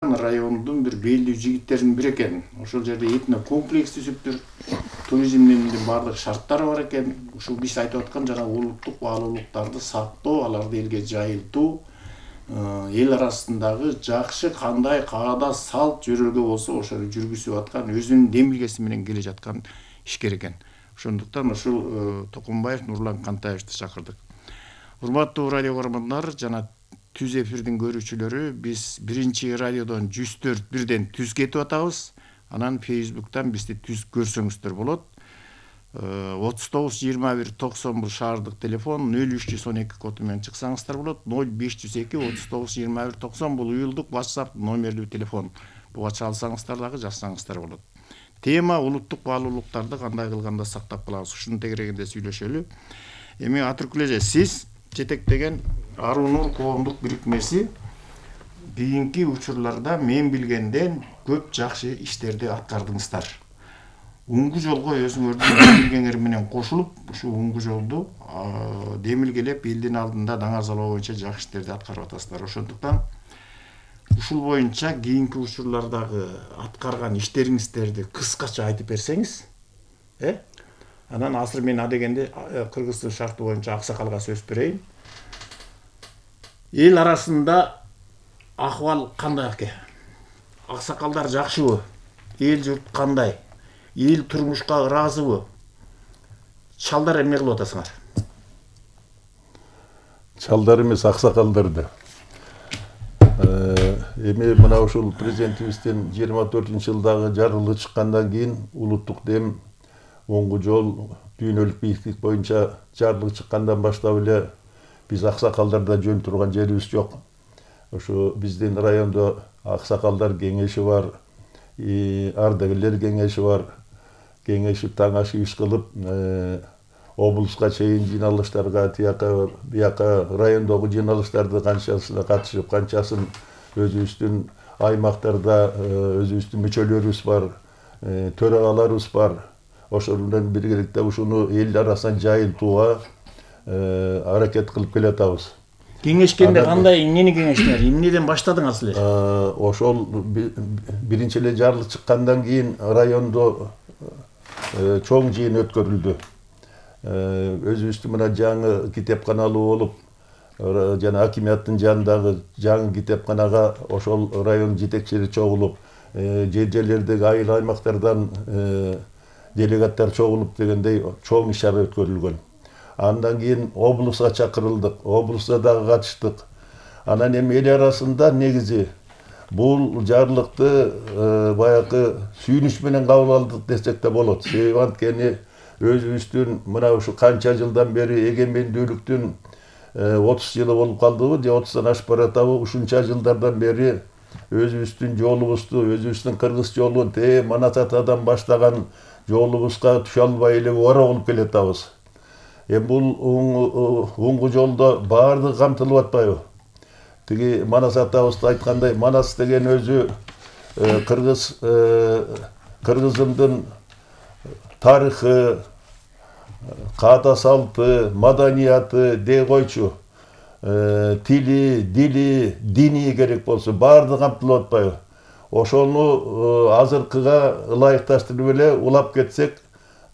Райондун бир белдүү жигиттеринин бири экен. Ошол жерде этно комплекс түзүптүр. Туризмдин баардык шарттары бар экен. Ушул биз айтып аткан жана улуттук баалуулуктарды сактоо, аларды элге жайылтуу, эл арасындагы жакшы кандай каада, салт жөрөлгө болсо ошону жүргүзүп аткан өзүнүн демилгеси менен келе жаткан ишкер экен. Ошондуктан ушул Токумбаев Нурлан Кантаевди чакырдык. Урматтуу радио көрөрмандар жана түз эфирдин көрүүчүлөрү, биз биринчи радиодон 104 бирден түз кетип атабыз. Анан Facebook'тан бизди түз көрсөңүздөр болот. 39 21 90 бул шаардык телефон, 0312 коду менен чыксаңыздар болот. 0502 39 21 90 бул уюлдук WhatsApp номерлүү телефон. Буга чалсаңыздар дагы жазсаңыздар болот. Тема улуттук баалуулуктарды кандай кылганда сактап калабыз. Ушунун тегерегинде сүйлөшөлү. Эми Атыркул эже, сиз жетектеген Аруу Нур коомдук бирикмеси кийинки учурларда мен билгенден көп жакшы иштерди аткардыңыздар. Уңгу жолго өзүңөрдүн демилгеңер менен кошулуп, ушул уңгу жолду демилгелеп элдин алдында даңазалоо боюнча жакшы иштерди аткарып атасыздар. Ошондуктан ушул боюнча кийинки учурлардагы аткарган иштериңиздерди кыскача айтып берсеңиз, Анан азыр мен адегенде кыргыздын шарты боюнча аксакалга сөз берейин. Эл арасында акыбал кандай экен? Аксакалдар жакшыбы? Эл журт кандай? Эл турмушка ыраазыбы? Чалдар эмне кылып атасыңар? Чалдар эмес, аксакалдарды. Эми мына ушул президентибиздин 24-жылдагы жарлыгы чыккандан кийин улуттук дем оңгу жол дүйнөлүк бийиктик боюнча жарлык чыккандан баштап эле биз аксакалдарда жөн турган жерибиз жок. Ошо биздин райондо аксакалдар кеңеши бар, ардагерлер кеңеши бар. Кеңешип таң ашы иш кылып, облуска чейин жыйналыштарга, бияка райондогу жыйналыштарды канчасына катышып, канчасын өзүбүздүн аймактарда өзүбүздүн мүчөлөрүбүз бар, төрагаларыбыз бар. Ошол менен биргеликте ушуну эл арасына жайылтууга аракет кылып келатабыз. Кеңешкенде кандай, эмнени кеңештиңер? Эмнеден баштадыңар силер? Ошол биринчи эле жарлык чыккандан кийин райондо чоң жыйын өткөрүлдү. Өзүбүздүн мына жаңы китепканалуу болуп, жана акимияттын жанындагы жаңы китепканага ошол район жетекчилери чогулуп, жерлердеги айыл аймактардан делегаттар чогулуп дегендей чоң иш-чара өткөрүлгөн. Андан кийин облуска чакырылдык, облуста дагы катыштык. Анан эми эл арасында негизи бул жарлыкты баягы сүйүнүч менен кабыл алдык десек да болот. Себеби анткени өзүбүздүн мына ушу канча жылдан бери эгемендүүлүктүн 30 жылы болуп калдыбы, же 30-дан ашып баратабы, ушунча жылдардан бери өзүбүздүн жолубузду, өзүбүздүн кыргыз жолун Манас атадан баштаган жолубузга түшө албай эле ора болуп келатабыз. Эми бул уңгу жолдо баардыгы камтылып атпайбы? Тиги Манас атабыз айткандай, Манас деген өзү кыргыздын тарыхы, каада салты, маданияты дей койчу, тили, дили, дини керек болсо баардыгы камтылып атпайбы? Ошону азыркыга ылайыкташтырып эле улап кетсек,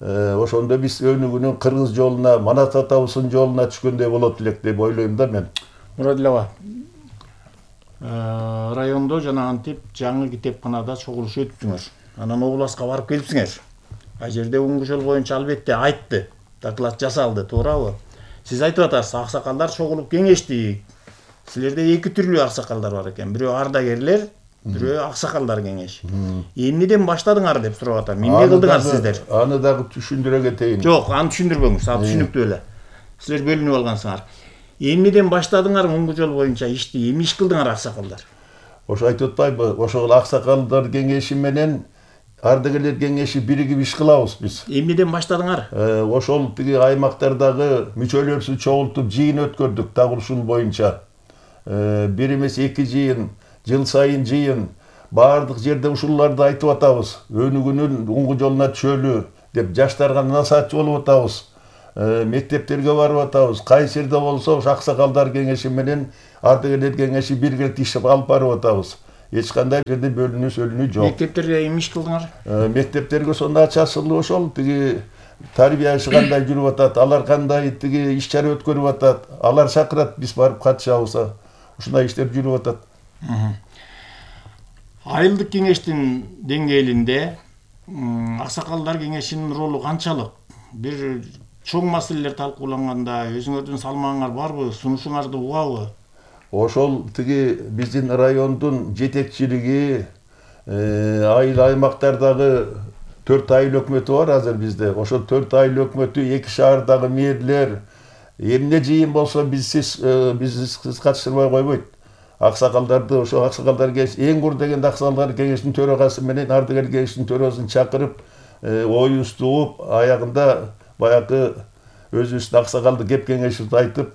ошондо биз өнүгүүнүн кыргыз жолуна, Манас атабыздын жолуна түшкөндөй болот элек деп ойлойм да мен. Мурадилова, райондо жана антип жаңы китепканада чогулуш өттүңөр. Анан обласка барып келипсиңер. А жерде уңгу жол боюнча албетте айтты, доклад жасалды, туурабы? Сиз айтып атасыз, аксакалдар чогулуп кеңештик. Силерде эки түрлүү аксакалдар бар экен. Бирөө ардагерлер, бирөө аксакалдар кеңеши. Эмнеден баштадыңар деп сурап атам. Эмне кылдыңар сиздер? Аны дагы түшүндүрө кетейин. Жок, аны түшүндүрбөңүз, ал түшүнүктүү эле. Силер бөлүнүп алгансыңар. Эмнеден баштадыңар уңгу жол боюнча ишти? Эмне иш кылдыңар аксакалдар? Ошо айтып атпайбы? Ошол аксакалдар кеңеши менен ардагерлер кеңеши биригип иш кылабыз биз. Эмнеден баштадыңар? Ошол тиги аймактардагы мүчөлөрүбүздү чогултуп жыйын өткөрдүк дагы ушул боюнча. Бир эмес эки жыйын, жыл сайын жыйын, баардык жерде ушуларды айтып атабыз. Өнүгүүнүн уңгу жолуна түшөлү деп жаштарга насаатчы болуп атабыз. Мектептерге барып атабыз. Кайсы жерде болсо аксакалдар кеңеши менен ардагерлер кеңеши биргеликте иш алып барып атабыз. эч кандай жерде бөлүнүү сөлүнүү жок. Мектептерге эмне иш кылдыңар? Мектептерге сонун ачасылуу ошол тиги тарбияшы кандай жүрүп атат, алар кандай тиги иш чара өткөрүп атат, алар чакырат, биз барып катышабыз. Ушундай иштер жүрүп атат. Айылдык кеңештин деңгээлинде аксакалдар кеңешинин ролу канчалык? Бир чоң маселелер талкууланганда өзүңөрдүн салмагыңар барбы, сунушуңарды угабы? Ошол тиги биздин райондун жетекчилиги, айыл аймактардагы 4 айыл өкмөтү бар азыр бизде. Ошол 4 айыл өкмөтү, 2 шаардагы мэрлер эмне жыйын болсо бизсиз катыштырбай койбойт. Аксакалдарды, ошо аксакалдар кеңеш, эң кур дегенде аксакалдар кеңешинин төрагасы менен ардыгер кеңешинин төрагасын чакырып, оюбузду угуп, аягында баягы өзүбүздүн аксакалды кеп кеңешибизди айтып,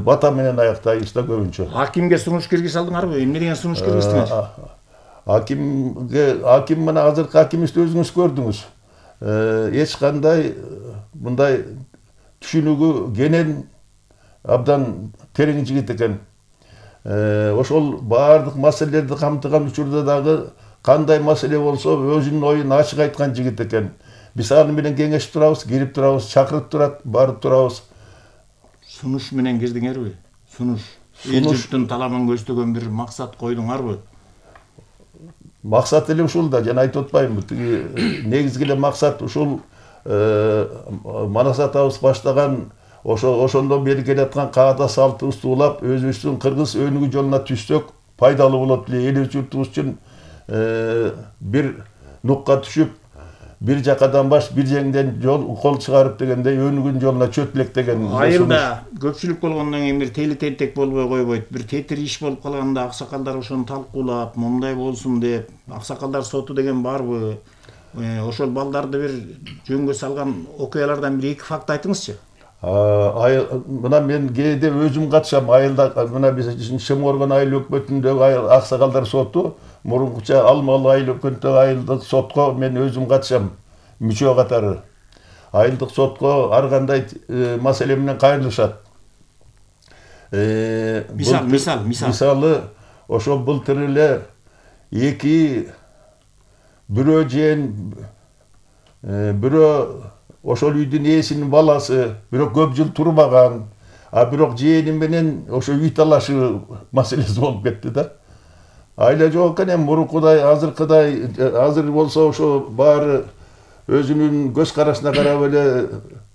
бата менен аяктайбыз да көбүнчө. Акимге сунуш киргизе алдыңарбы? Эмне деген сунуш киргиздиңер? Аким мына азыркы акимибизди өзүңүз көрдүңүз. Эч кандай мындай түшүнүгү кенен, абдан терең жигит экен. Ошол баардык маселелерди камтыган учурда дагы кандай маселе болсо өзүнүн оюн ачык айткан жигит экен. Биз аны менен кеңешип турабыз, кирип турабыз, чакырып турат, барып турабыз. Сунуш менен кирдиңерби? Сунуш. Эл журттун талабын көздөгөн бир максат койдуңарбы? Максат эле ушул да, жана айтып атпаймынбы, тиги негизги эле максат ушул Манас атабыз баштаган ошондон бери келаткан каада салтыбызды улап, өзүбүздүн кыргыз өнүгүү жолуна түшсөк пайдалуу болот эле, эл журтубуз үчүн бир нукка түшүп, бир жакадан баш, бир жеңден жол кол чыгарып дегендей өнүгүүнүн жолуна чөп элек деген. Айылда көпчүлүк болгондон кийин бир тели-тентек болбой койбойт. Бир тетир иш болуп калганда аксакалдар ошону талкуулап, мындай болсун деп, аксакалдар соту деген барбы? Ошол балдарды бир жөнгө салган окуялардан бир 2 факт айтыңызчы. Мына мен кээде өзүм катышам айылда, мына биздин Шыморгон айыл өкмөтүндөгү аксакалдар соту, мурункуча Алмалы айыл өкмөтүндөгү айылдык сотко мен өзүм катышам мүчө катары. Айылдык сотко ар кандай маселе менен кайрылышат. Мисалы, ошо былтыр эле 2 бирөө жээн, бирөө ошол үйдүн ээсинин баласы, бирок көп жыл турбаган, бирок жээни менен ошо үй талашы маселеси болуп кетти да. Айла жок экен, мурункудай, азыркыдай, азыр болсо ошо баары өзүнүн көз карашына карап эле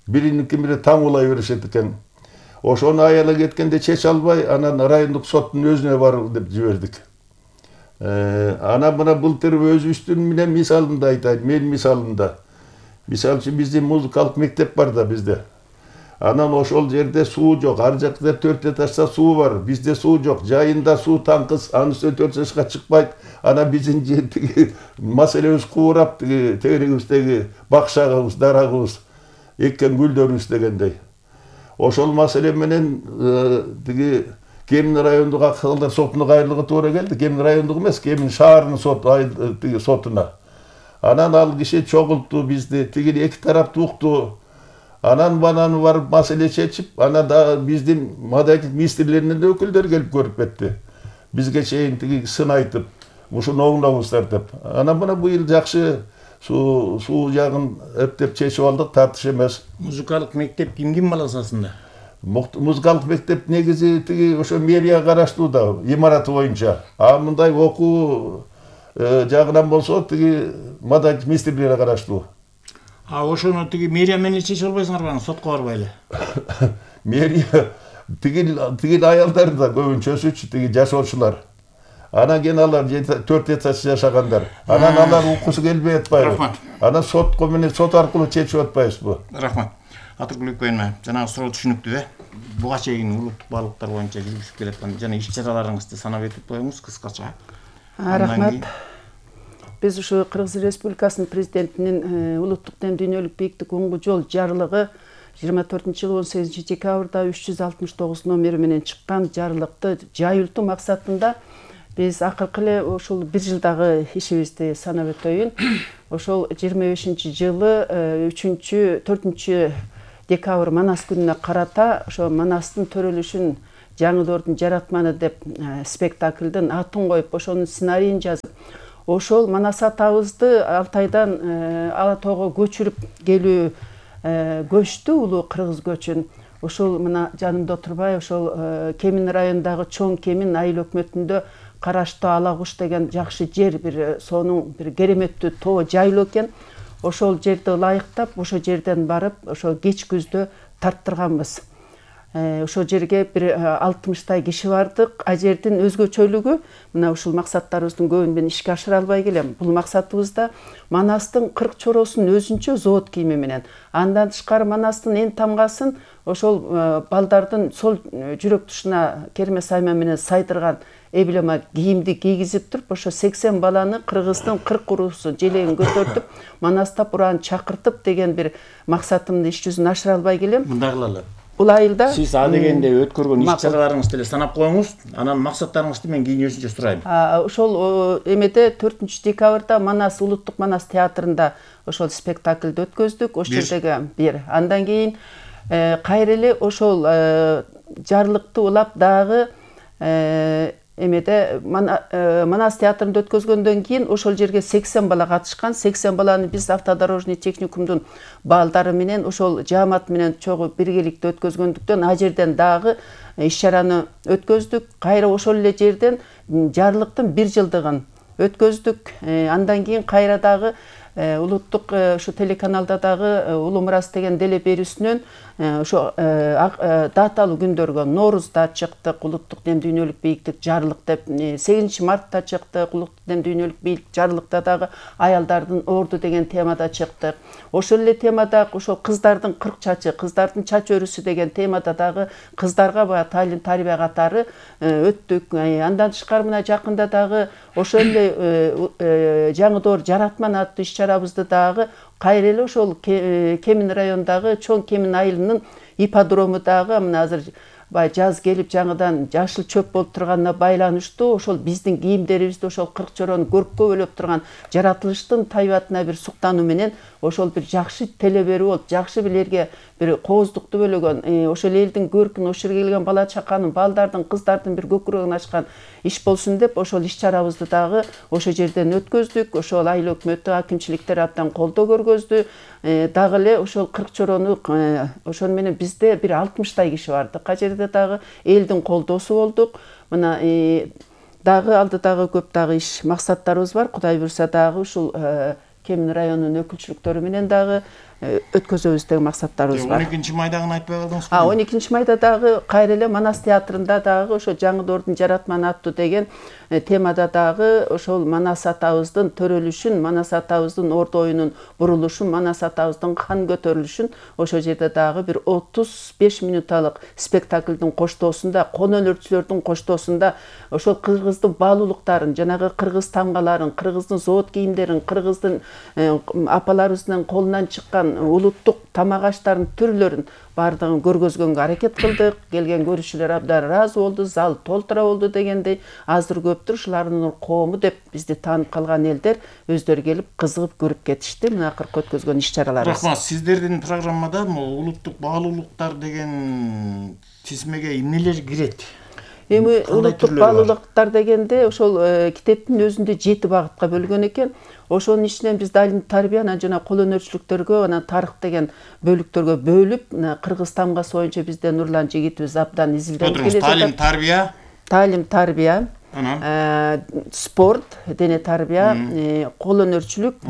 бириники бири таңуулай беришет экен. Ошону аялы кеткенде чече албай, анан райондук соттун өзүнө бар деп жибердик. Ана мына былтыр өзүбүздүн менен мисалында айтайын, мен мисалында. Мисалы үчүн биздин музыкалык мектеп бар да бизде. Анан ошол жерде суу жок, ар жакта 4 этажда суу бар, бизде суу жок, жайында суу таңкыз, анысы 4 жашка чыкпайт. Анан биздин маселебиз куурап, тегерегибиздеги бакшагыбыз, дарагыбыз, эккен гүлдөрүбүз дегендей. Ошол маселе менен тиги Кемин райондук аксакалдар сотуна кайрылууга туура келди. Кемин райондук эмес, Кемин шаарынын сотуна. Анан ал киши чогултту бизди, тиги 2 тараптуу укту. Анан бананы барып маселе чечип, анан да биздин маданият министрлеринин да өкүлдөрү келип көрүп кетти. Бизге чейин тиги сын айтып, ушуну оңдоңуздар деп. Анан мына быйыл жакшы суу жагын эптеп чечип алдык, тартыш эмес. Музыкалык мектеп ким баласасында? Музыкалык мектеп негизи тиги ошо мэрия караштуу да, имараты боюнча. Мындай окуу жагынан болсо тиги маданият министрлери караштуу. Ошону тиги мэрия менен чечип албайсыңарбы, сотко барбай эле? Мэрия тиги аялдар да көбүнчөсүчү тиги жашоочулар. Анан кийин алар 4 этаж жашагандар. Анан алар уккусу келбей атпайбы? Анан сотко менен сот аркылуу чечип атпайбызбы? Рахмат. Атыркулбек байыма, жанагы суроо түшүнүктүү. Буга чейин улуттук баалыктар боюнча жүргүзүп келаткан жана иш-чараларыңызды санап өтүп коюңуз кыскача. Рахмат. Биз ушу Кыргыз Республикасынын президентинин улуттук дем дүйнөлүк бийиктик уңгу жол жарлыгы 24-жылы 18 декабрда 369 номери менен чыккан жарлыкты жайылтуу максатында биз акыркы эле ушул 1 жылдагы ишибизди санап өтөйүн. Ошол 25-жылы 4 декабрь Манас күнүнө карата ошо Манастын төрөлүшүн Жаңы Доордун жаратманы деп спектаклдин атын коюп, ошонун сценарийин жазып, ошол Манас атабызды Алтайдан Ала тоого көчүрүп келүү көчтү, улуу кыргыз көчүн. Ошол мына жанымда отурбай, ошол Кемин районундагы Чоң Кемин айыл өкмөтүндө караштуу Ала Куш деген жакшы жер, бир сонун бир кереметтүү тоо жайлоо экен. Ошол жерди ылайыктап, ошол жерден барып, ошол кеч күздө тарттырганбыз. Ошол жерге бир 60 киши бардык. А жердин өзгөчөлүгү мына ушул максаттарыбыздын көбүн мен ишке ашыра албай келем. Бул максатыбызда Манастын 40 чоросун өзүнчө завод кийими менен, андан тышкары Манастын эн тамгасын ошол балдардын сол жүрөк тушуна керме сайма менен сайдырган эблема кийимди кийгизип туруп, ошо 80 баланы кыргыздын 40 уруусу желегин көтөртүп, Манастап ураан чакыртып деген бир максатымды иш жүзүнө ашыра албай келем. Мындай кылалы. Бул айылда Сиз адегенде өткөргөн иш-чараларыңызды деле санап коюңуз, анан максаттарыңызды мен кийинче сурайм. Ошол эмеде 4-декабрда Манас улуттук Манас театрында ошол спектакльди өткөздүк. Ошол жердеги бир. Андан кийин кайра эле ошол жарлыкты улап дагы эмеде Манас театрында өткөзгөндөн кийин ошол жерге 80 бала катышкан. 80 баланы биз автодорожный техникумдун балдары менен ошол жаамат менен чогуу биргеликте өткөзгөндүктөн а жерден дагы иш-чараны өткөздүк. Кайра ошол эле жерден жарлыктын 1 жылдыгын өткөздүк. Андан кийин кайра дагы улуттук ушу телеканалда дагы Улуу Мурас деген деле берүүсүнөн ошо даталуу күндөргө Ноорузда чыктык, улуттук дем дүйнөлүк бийиктик жарлык деп, 8 мартта чыктык, улуттук дем дүйнөлүк бийиктик жарлыкта дагы аялдардын орду деген темада чыктык. Ошол эле темада ошо кыздардын 40 чачы, кыздардын чач өрүсү деген темада дагы кыздарга баягы талим тарбия катары өттүк. Андан тышкары мына жакында дагы ошол эле Жаңы Доор жаратман аттуу иш-чарабызды дагы кайра эле ошол Кемин районундагы Чоң Кемин айылынын ипподрому дагы мына азыр жаз келип жаңыдан жашыл чөп болуп турганына байланыштуу ошол биздин кийимдерибизди ошол 40 чорону көрккө бөлөп турган жаратылыштын табиятына бир суктануу менен ошол бир жакшы теле берүү болуп, жакшы билерге бир кооздукту бөлөгөн, ошол элдин көркүн, ошол жерге келген бала чаканын, балдардын, кыздардын бир көкүрөгүн ачкан иш болсун деп ошол иш-чарабызды дагы ошол жерден өткөздүк. Ошол айыл өкмөтү, акимчиликтер абдан колдоо көргөздү. Дагы эле ошол 40 чорону ошон менен бизде бир 60 киши барды. Кай жерде дагы элдин колдоосу болдук. Мына дагы алдыдагы көп дагы иш максаттарыбыз бар. Кудай буйрса дагы ушул Кемин районунун өкүлчүлүктөрү менен дагы өткөзөбүз деген максаттарыбыз бар. 12 майдагын айтпай калдыңыз. 12 майда дагы кайра эле Манас театрында дагы ошо Жаңы Доордун жаратманы аттуу деген темада дагы ошол Манас атабыздын төрөлүшүн, Манас атабыздын орду оюнун бурулушун, Манас атабыздын хан көтөрүлүшүн ошол жерде дагы бир 35 минуталык спектаклдин коштоосунда, кон өнөрчүлөрдүн коштоосунда ошол кыргыздын баалуулуктарын, жанагы кыргыз тамгаларын, кыргыздын завод кийимдерин, кыргыздын апаларыбыздын колунан чыккан улуттук тамак аштардын түрлөрүн бардыгын көргөзгөнгө аракет кылдык. Келген көрүүчүлөр абдан ыраазы болду, зал толтура болду дегендей. Азыр көптүр ушулардын коому деп бизди таанып калган элдер өздөрү келип кызыгып көрүп кетишти. Мына акыркы өткөзгөн иш-чараларыбыз. Рахмат. Сиздердин программада улуттук баалуулуктар деген тизмеге эмнелер кирет? Эми улуттук баалуулуктар дегенде ошол китептин өзүндө 7 багытка бөлгөн экен. Ошонун ичинен биз талим тарбия, анан жана кол өнөрчүлүктөргө, анан тарых деген бөлүктөргө бөлүп, кыргыз тамгасы боюнча bizde Нурлан жигитибиз абдан изилдеп келе жатат. Талим тарбия, спорт, дене тарбия, кол өнөрчүлүк,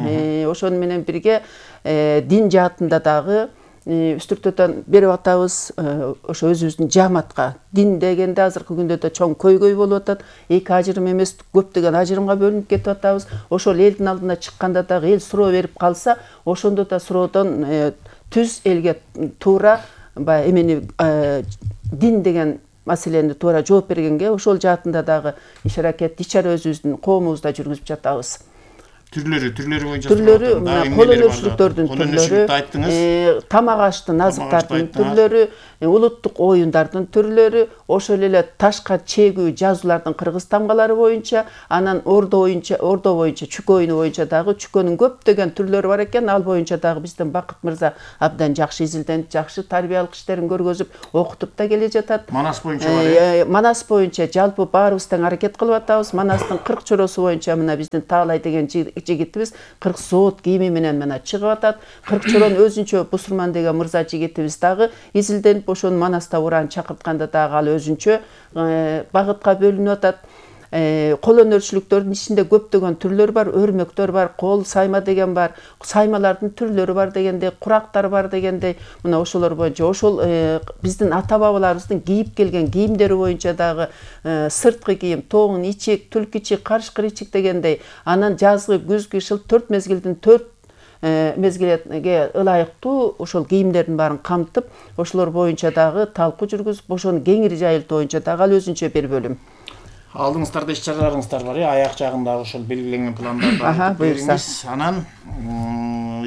ошону менен бирге дин жаатында дагы үстүртөдөн берип атабыз. Ошо өзүбүздүн жааматка дин дегенде азыркы күндө да чоң көйгөй болуп атат. Эки ажырым эмес, көптөгөн ажырымга бөлүнүп кетип атабыз. Ошол элдин алдына чыкканда дагы эл суроо берип калса, ошондо да суроодон түз элге туура эмени дин деген маселени туура жооп бергенге ошол жаатында дагы иш аракет, иш-чара өзүбүздүн коомубузда жүргүзүп жатабыз. Түрлөрү боюнча түрлөрү кол өнөрчүлүктөрдүн түрлөрү, тамак аштын, азыктардын түрлөрү, улуттук оюндардын түрлөрү, ошол эле ташка чегүү жазуулардын кыргыз тамгалары боюнча, анан ордо боюнча чүкө оюну боюнча дагы чүкөнүн көптөгөн түрлөрү бар экен. Ал боюнча дагы биздин Бакыт мырза абдан жакшы изилденип, жакшы тарбиялык иштерин көргөзүп, окутуп да келе жатат. Манас боюнча бар. Манас боюнча жалпы баарыбыз тең аракет кылып атабыз. Манастын 40 чоросу боюнча мына биздин Таалай деген жигитибиз 40 соот кийими менен мына чыгып атат. 40 чорону өзүнчө Бусурман деген мырза жигитибиз дагы изилденип, ошону Манаста уран чакыртканда дагы ал өзүнчө багытка бөлүнүп атат. Кол өнөрчүлүктөрдүн ичинде көптөгөн түрлөр бар, өрмөктөр бар, кол сайма деген бар, саймалардын түрлөрү бар дегендей, курактар бар дегендей, мына ошолор боюнча, ошол биздин ата бабаларыбыздын кийип келген кийимдери боюнча дагы сырткы кийим, тоон ичик, түлк ичик, карышкыр ичик дегендей, анан жазгы, күз, кышыл 4 мезгилдин 4 мезгилге ылайыктуу ошол кийимдердин баарын камтып, ошолор боюнча дагы талкуу жүргүзүп, ошону кеңири жайылтуу боюнча дагы ал өзүнчө бир бөлүм. Алдыңыздарда иш-чараларыңыздар бар, аяк жагында ошол белгиленген пландарды айтып бериңиз. Анан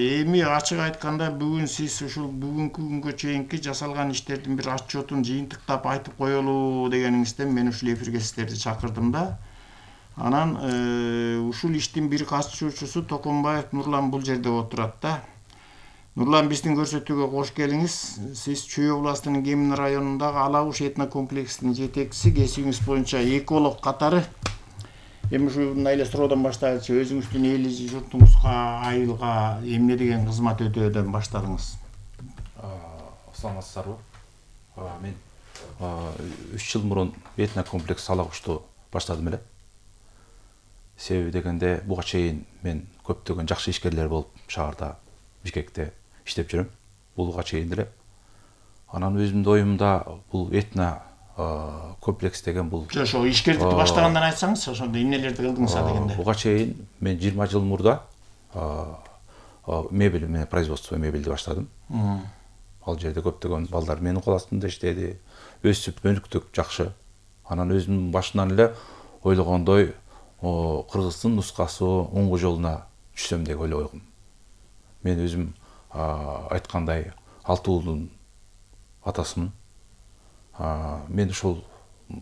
эми ачык айтканда бүгүн сиз ушул бүгүнкү күнгө чейинки жасалган иштердин бир отчетун жыйынтыктап айтып коелу дегениңизден мен ушул эфирге сиздерди чакырдым да. Анан ушул иштин бир катышуучусу Токонбаев Нурлан бул жерде отурат да. Нурлан, биздин көрсөтүүгө кош келиңиз. Сиз Чүй областынын Кемин районундагы Алабуш этнокомплексинин жетекчиси, кесибиңиз боюнча эколог катары. Эми ушундай эле суроодон баштайлычы, өзүңүздүн эли журтуңузга, айылга эмне деген кызмат өтөөдөн баштадыңыз? Саламатсыздарбы? Мен 3 жыл мурун этнокомплекс Алабушту баштадым эле. Себеби дегенде буга чейин мен көптөгөн жакшы ишкерлер болуп шаарда, Бишкекте иштеп жүрөм. Буга чейин деле. Анан өзүмдүн оюмда бул этно комплекс деген бул. Ошо ишкердикти баштагандан айтсаңыз, ошондо эмнелерди кылдыңыз дегенде. Буга чейин мен 20 жыл мурда мебель менен производство мебелди баштадым. Ал жерде көптөгөн балдар менин кол астымда иштеди. Өсүп, өнүктүк жакшы. Анан өзүмдүн башынан эле ойлогондой кыргыздын нускасы оңгу жолуна түшсөм деп ойлогом. Мен өзүм айткандай 6 уулдун атасымын. Мен ушул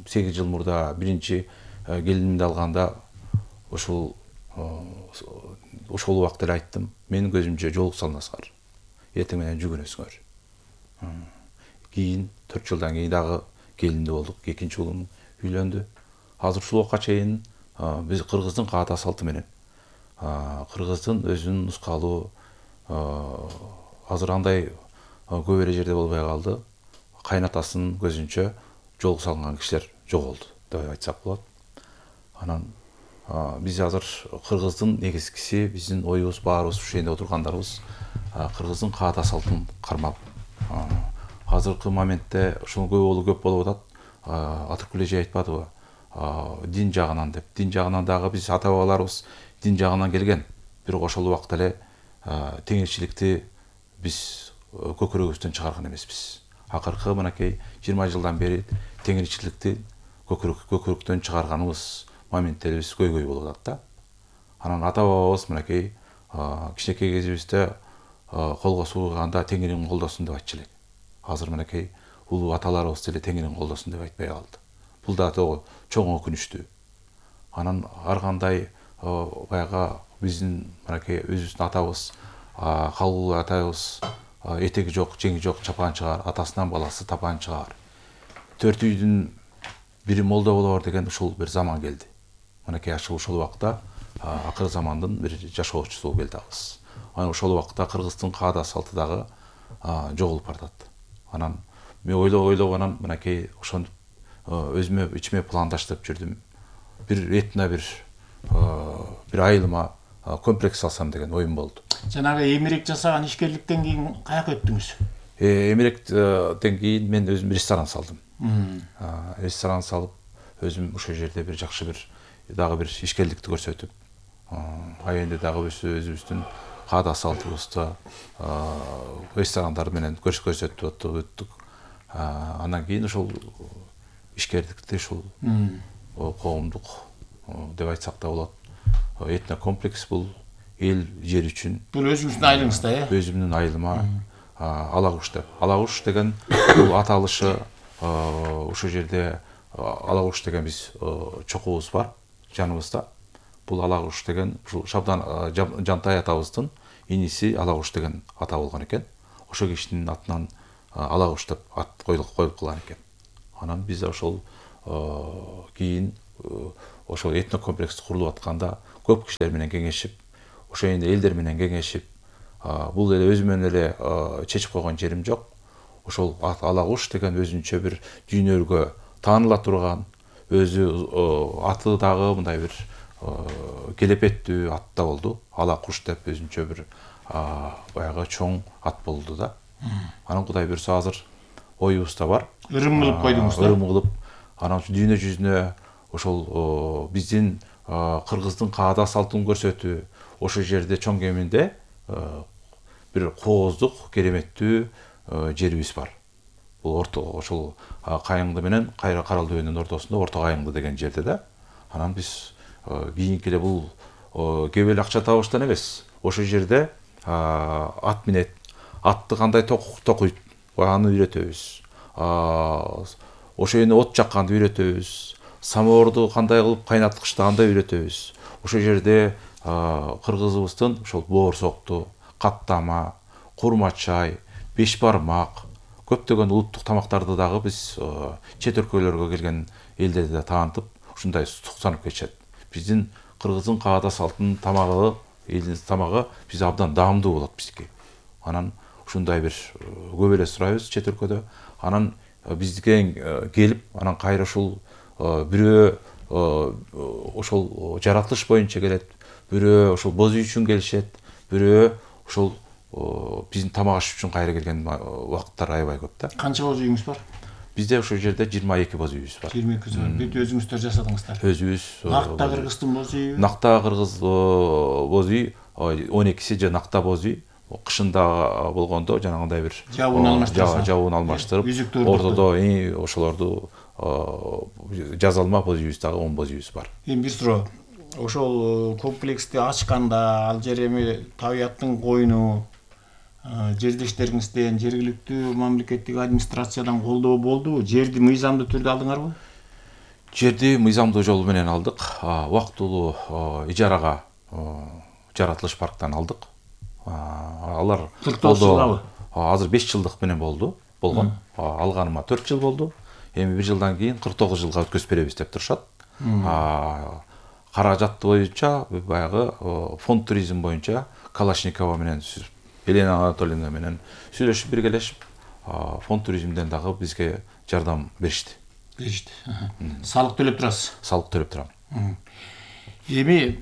8 жыл мурда биринчи келинимди алганда ушул убакыт эле айттым. Менин көзүмчө жолук салыңыздар. Эртең менен жүгүнөсүңөр. Кийин 4 жылдан кийин дагы келинди болдук. Экинчи уулум үйлөндү. Азыр ушул убакка чейин биз кыргыздын каада салты менен кыргыздын өзүнүн нускалуу азыр андай көп эле жерде болбой калды. Кайнатасынын көзүнчө жол салган кишилер жоголду деп айтсак болот. Анан биз азыр кыргыздын негизгиси, биздин оюбуз баарыбыз ушул жерде отургандарыбыз кыргыздын каада салтын кармап. Азыркы моментте ушул көп болуп атат. Атыркүл эже айтпадыбы? Дин жагынан деп. Дин жагынан дагы биз ата бабаларыбыз дин жагынан келген. Бирок ошол убакта эле теңирчиликти биз көкүрөгүбүздөн чыгарган эмеспиз. Акыркы мынакей 20 жылдан бери теңирчиликти көкүрөктөн чыгарганыбыз моментте биз көйгөй болуп атат да. Анан ата бабабыз мынакей кичинекей кезибизде колго сууганда теңирим колдосун деп айтчу элек. Азыр мынакей улуу аталарыбыз деле теңирим колдосун деп айтпай калды. Бул да чоң өкүнүчтүү. Анан ар кандай баягы биздин мынакей өзүбүздүн атабыз, калгулуу атабыз этеги жок, жеңи жок чапанчыгар, атасынан баласы тапанчыгар. 4 үйдүн бири молдо болор деген ушул бир заман келди. Мынакей ушул убакта акыр замандын бир жашоочусу болуп келдибиз. Анан ошол убакта кыргыздын каада салты дагы жоголуп баратат. Анан мен ойлоп анан мынакей ошону өзүмө ичиме пландаштырып жүрдүм. Бир этно бир айылыма комплекс салсам деген оюм болду. Жанагы эмерек жасаган ишкерликтен кийин каяка өттүңүз? Эмеректен кийин мен өзүм ресторан салдым. Ресторан салып, өзүм ошол жерде бир жакшы дагы бир ишкерликти көрсөтүп, айында дагы өзүбүздүн каада салтыбызды ресторандар менен көрсөтүп өттүк. Андан кийин ошол ишкерликти ушул коомдук деп айтсак да болот. Этнокомплекс бул эл жер үчүн. Бул өзүңүздүн айылыңызда, Өзүмдүн айылыма Алагуш деп. Алагуш деген бул аталышы ошол жерде Алагуш деген биз чокубуз бар жаныбызда. Бул Алагуш деген ушул Шабдан Жантай атабыздын иниси Алагуш деген ата болгон экен. Ошол кишинин атынан Алагуш деп ат коюлуп калган экен. Анан биз ошол кийин ошол этнокомплекс курулуп атканда көп кишилер менен кеңешип, ошо элдер менен кеңешип, бул эле өзүмөн эле чечип койгон жерим жок. Ошол Алагуш деген өзүнчө бир дүйнөгө тааныла турган, өзү аты дагы мындай бир келепеттүү ат да болду. Алакуш деп өзүнчө бир баягы чоң ат болду да. Анан Кудай буйрса азыр оюбузда бар. Ырым кылып койдуңуз да. Ырым кылып, анан дүйнө жүзүнө ошол биздин кыргыздын каада салтын көрсөтүү, ошол жерде чоң кеминде бир кооздук, кереметтүү жерибиз бар. Бул ошол Кайыңды менен Карал дөбөнүн ортосунда Орто Кайыңды деген жерде да. Анан биз кийинки эле бул кеп эле акча табыштан эмес. Ошол жерде ат минет, атты кандай токуйт, аны үйрөтөбүз. Ошо эне от жакканды үйрөтөбүз. Самоорду кандай кылып кайнаткычты андай үйрөтөбүз. Ошол жерде кыргызыбыздын ошол боорсокту, каттама, курма чай, беш бармак, көптөгөн улуттук тамактарды дагы биз чет өлкөлөргө келген элдерде да таанытып, ушундай суктанып кетишет. Биздин кыргыздын каада салтынын тамагы, элдин тамагы биз абдан даамдуу болот бизге. Анан ушундай бир көп эле сурайбыз чет өлкөдө. Анан бизге келип, анан кайра ушул бирөө ошол жаратылыш боюнча келет, бирөө ошол боз үй үчүн келишет, бирөө ошол биздин тамак аш үчүн кайра келген убакыттар аябай көп да. Канча боз үйүңүз бар? Bizde ошол жерде 22 боз үйүбүз бар. 22 бар. Бүт өзүңүздөр жасадыңыздар. Өзүбүз. Накта кыргыздын боз үйү. Накта кыргыз боз үй 12си же накта боз үй. Кышында болгондо жанагындай бир жабуун алмаштырып, ортодо ошолорду жазалма боз үйүбүз дагы 10 боз үйүбүз бар. Эми бир суроо. Ошол комплексти ачканда ал жер эми табияттын койну, жердештериңизден, жергиликтүү мамлекеттик администрациядан колдоо болдубу? Жерди мыйзамдуу түрдө алдыңарбы? Жерди мыйзамдуу жол менен алдык. Убактылуу ижарага жаратылыш парктан алдык. Алар 49 жылдабы? Азыр 5 жылдык менен болгон. Алганыма 4 жыл болду. Эми 1 жылдан кийин 49 жылга өткөзүп беребиз деп турушат. Каражат боюнча баягы фонд туризм боюнча Калашникова менен Елена Анатольевна менен сүйлөшүп биргелешип, фонд туризмден дагы бизге жардам беришти. Салык төлөп турасыз? Салык төлөп турам. Эми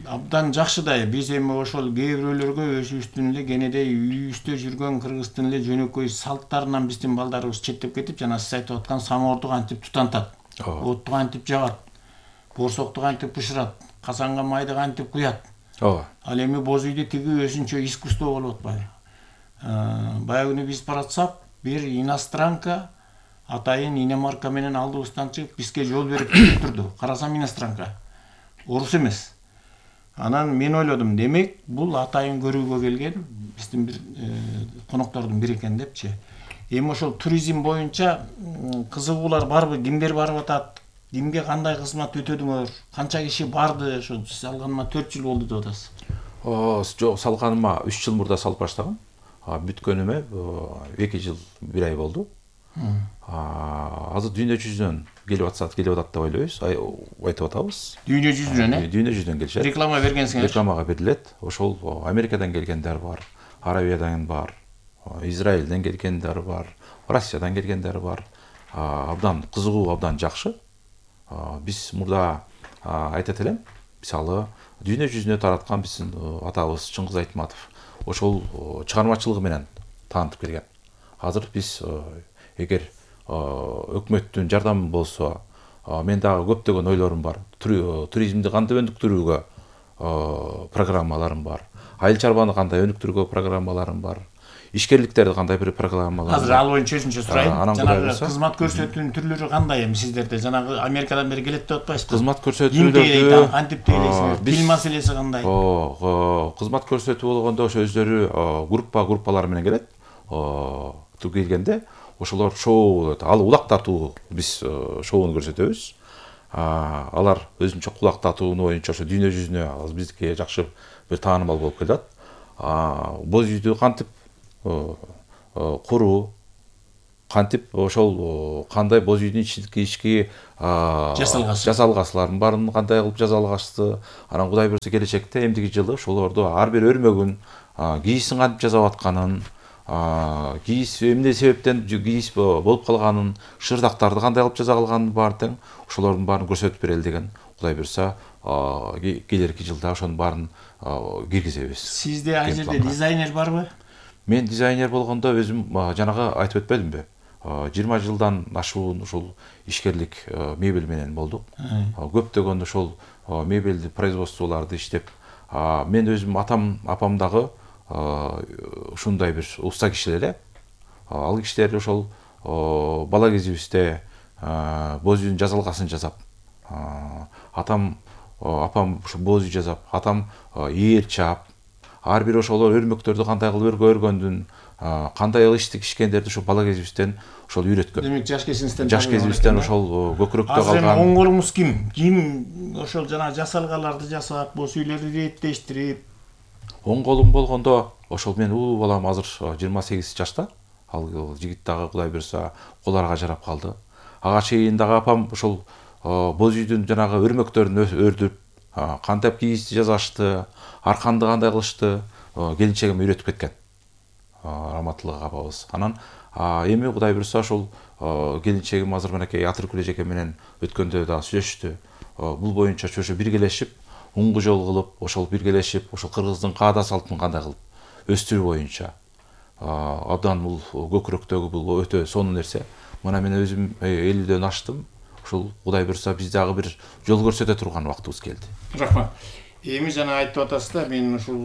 абдан жакшы да, биз эми ошол кээ бирөөлөргө өзүбүздүн эле кенедей үйүбүздө жүргөн кыргыздын эле жөнөкөй салттарынан биздин балдарыбыз четтеп кетип, жана сиз айтып аткан самоорду кантип тутантат, отту кантип жагат, боорсокту кантип бышырат, казанга майды кантип куят. Ал эми боз үйдө тиги өзүнчө искусство болуп атпайбы? Баягы күнү биз баратсак, бир иностранка атайын иномарка менен алдыбыздан чыгып бизге жол берип турду. Карасам иностранка. Орус эмес. Анан мен ойлодум, демек бул атайын көрүүгө келген биздин бир коноктордун бири экен депчи. Эми ошол туризм боюнча кызыгуулар барбы? Кимдер барып атат? Кимге кандай кызмат өтөдүңөр? Канча киши барды? Ошо сиз алганыма 4 жыл болду деп атасыз. Жок, салганыма 3 жыл мурда салып баштагам. Бүткөнүмө 2 жыл 1 ай болду. Азыр дүйнө жүзүнөн келип атат деп ойлойбуз, айтып атабыз. Дүйнө жүзүнөн, Дүйнө жүзүнөн келишет. Реклама бергенсиңер? Рекламага берилет. Ошол Америкадан келгендер бар, Арабиядан бар, Израилден келгендер бар, Россиядан келгендер бар. Абдан кызыгуу, абдан жакшы. Биз мурда айтат элем, мисалы, дүйнө жүзүнө тараткан биздин атабыз Чыңгыз Айтматов ошол чыгармачылыгы менен таанытып келген. Азыр биз эгер өкмөттүн жардамы болсо, мен дагы көптөгөн ойлорум бар. Туризмди кандай өнүктүрүүгө программаларым бар. Айыл чарбаны кандай өнүктүрүүгө программаларым бар. ишкерликтерди кандай бир программалар. Азыр ал боюнча өзүнчө сурайын. Жанагы Кудайбырса. кызмат көрсөтүүнүн түрлөрү кандай эми сиздерде? Жанагы Америкадан бери келет деп атпайсызбы? Кызмат көрсөтүүлөрдү кантип тейлейсиңер? Тил маселеси кандай? Кызмат көрсөтүү болгондо ошо өздөрү группалар менен келет. Келгенде ошолор шоу болот. Ал улак тартуу биз шоуну көрсөтөбүз. Алар өзүнчө кулак тартууну боюнча ошо дүйнө жүзүнө бизге жакшы бир таанымал болуп келат. Боз үйдү кантип куруу, кантип ошол кандай боз үйдүн ички жасалгачылардын баарын кандай кылып жасалгачты. Анан Кудай буйрса келечекте эмдиги жылы ошолорду ар бир өрмөгүн, кийисин кантип жасап атканын, кийис эмне себептен кийис болуп калганын, шырдактарды кандай кылып жасап алганын баарын тең ошолордун баарын көрсөтүп берели деген Кудай буйрса келерки жылда ошонун баарын киргизебиз. Сизде ай жерде дизайнер барбы? Мен дизайнер болгондо өзүм жанагы айтып өтпөдүмбү? 20 жылдан ашуун ушул ишкерлик мебель менен болдук. Көптөгөн ошол мебелди производстволорду иштеп, мен өзүм апам дагы ушундай бир уста кишилер эле. Ал кишилер ошол бала кезибизде боз үйдүн жасалгасын жасап, апам ошо боз үй жасап, атам ээр чаап, ар бир ошолор өрмөктөрдү кандай кылып өргөндүн, кандай иштик ишкендерди ошо бала кезибизден ошол үйрөткөн. Демек жаш кезибизден ошол көкүрөктө калган. Азыр оң колуңуз ким? Ким ошол жана жасалгаларды жасап, боз үйлөрдү реттештирип? Оң колум болгондо ошол мен улуу балам азыр 28 жашта. Ал жигит дагы Кудай буйрса коларга жарап калды. Ага чейин дагы апам ошол боз үйдүн жанагы өрмөктөрүн өрдүп, кантип кийизди жасашты, арканды кандай кылышты, келинчегиме үйрөтүп кеткен. Раматылык апабыз. Анан эми Кудай буйрса ошол келинчегим азыр менекей Атыркүл эжеке менен өткөндө да сүйлөштү. Бул боюнча чөшө биргелешип, уңгу жол кылып, ошол биргелешип, ошол кыргыздын каада салтын кандай кылып өстүрүү боюнча абдан бул көкүрөктөгү бул өтө сонун нерсе. Мына мен өзүм 50дөн аштым. Ушул Кудай буйрса биз дагы бир жол көрсөтө турган убактыбыз келди. Рахмат. Эми жана айтып атасыз да, мен ушул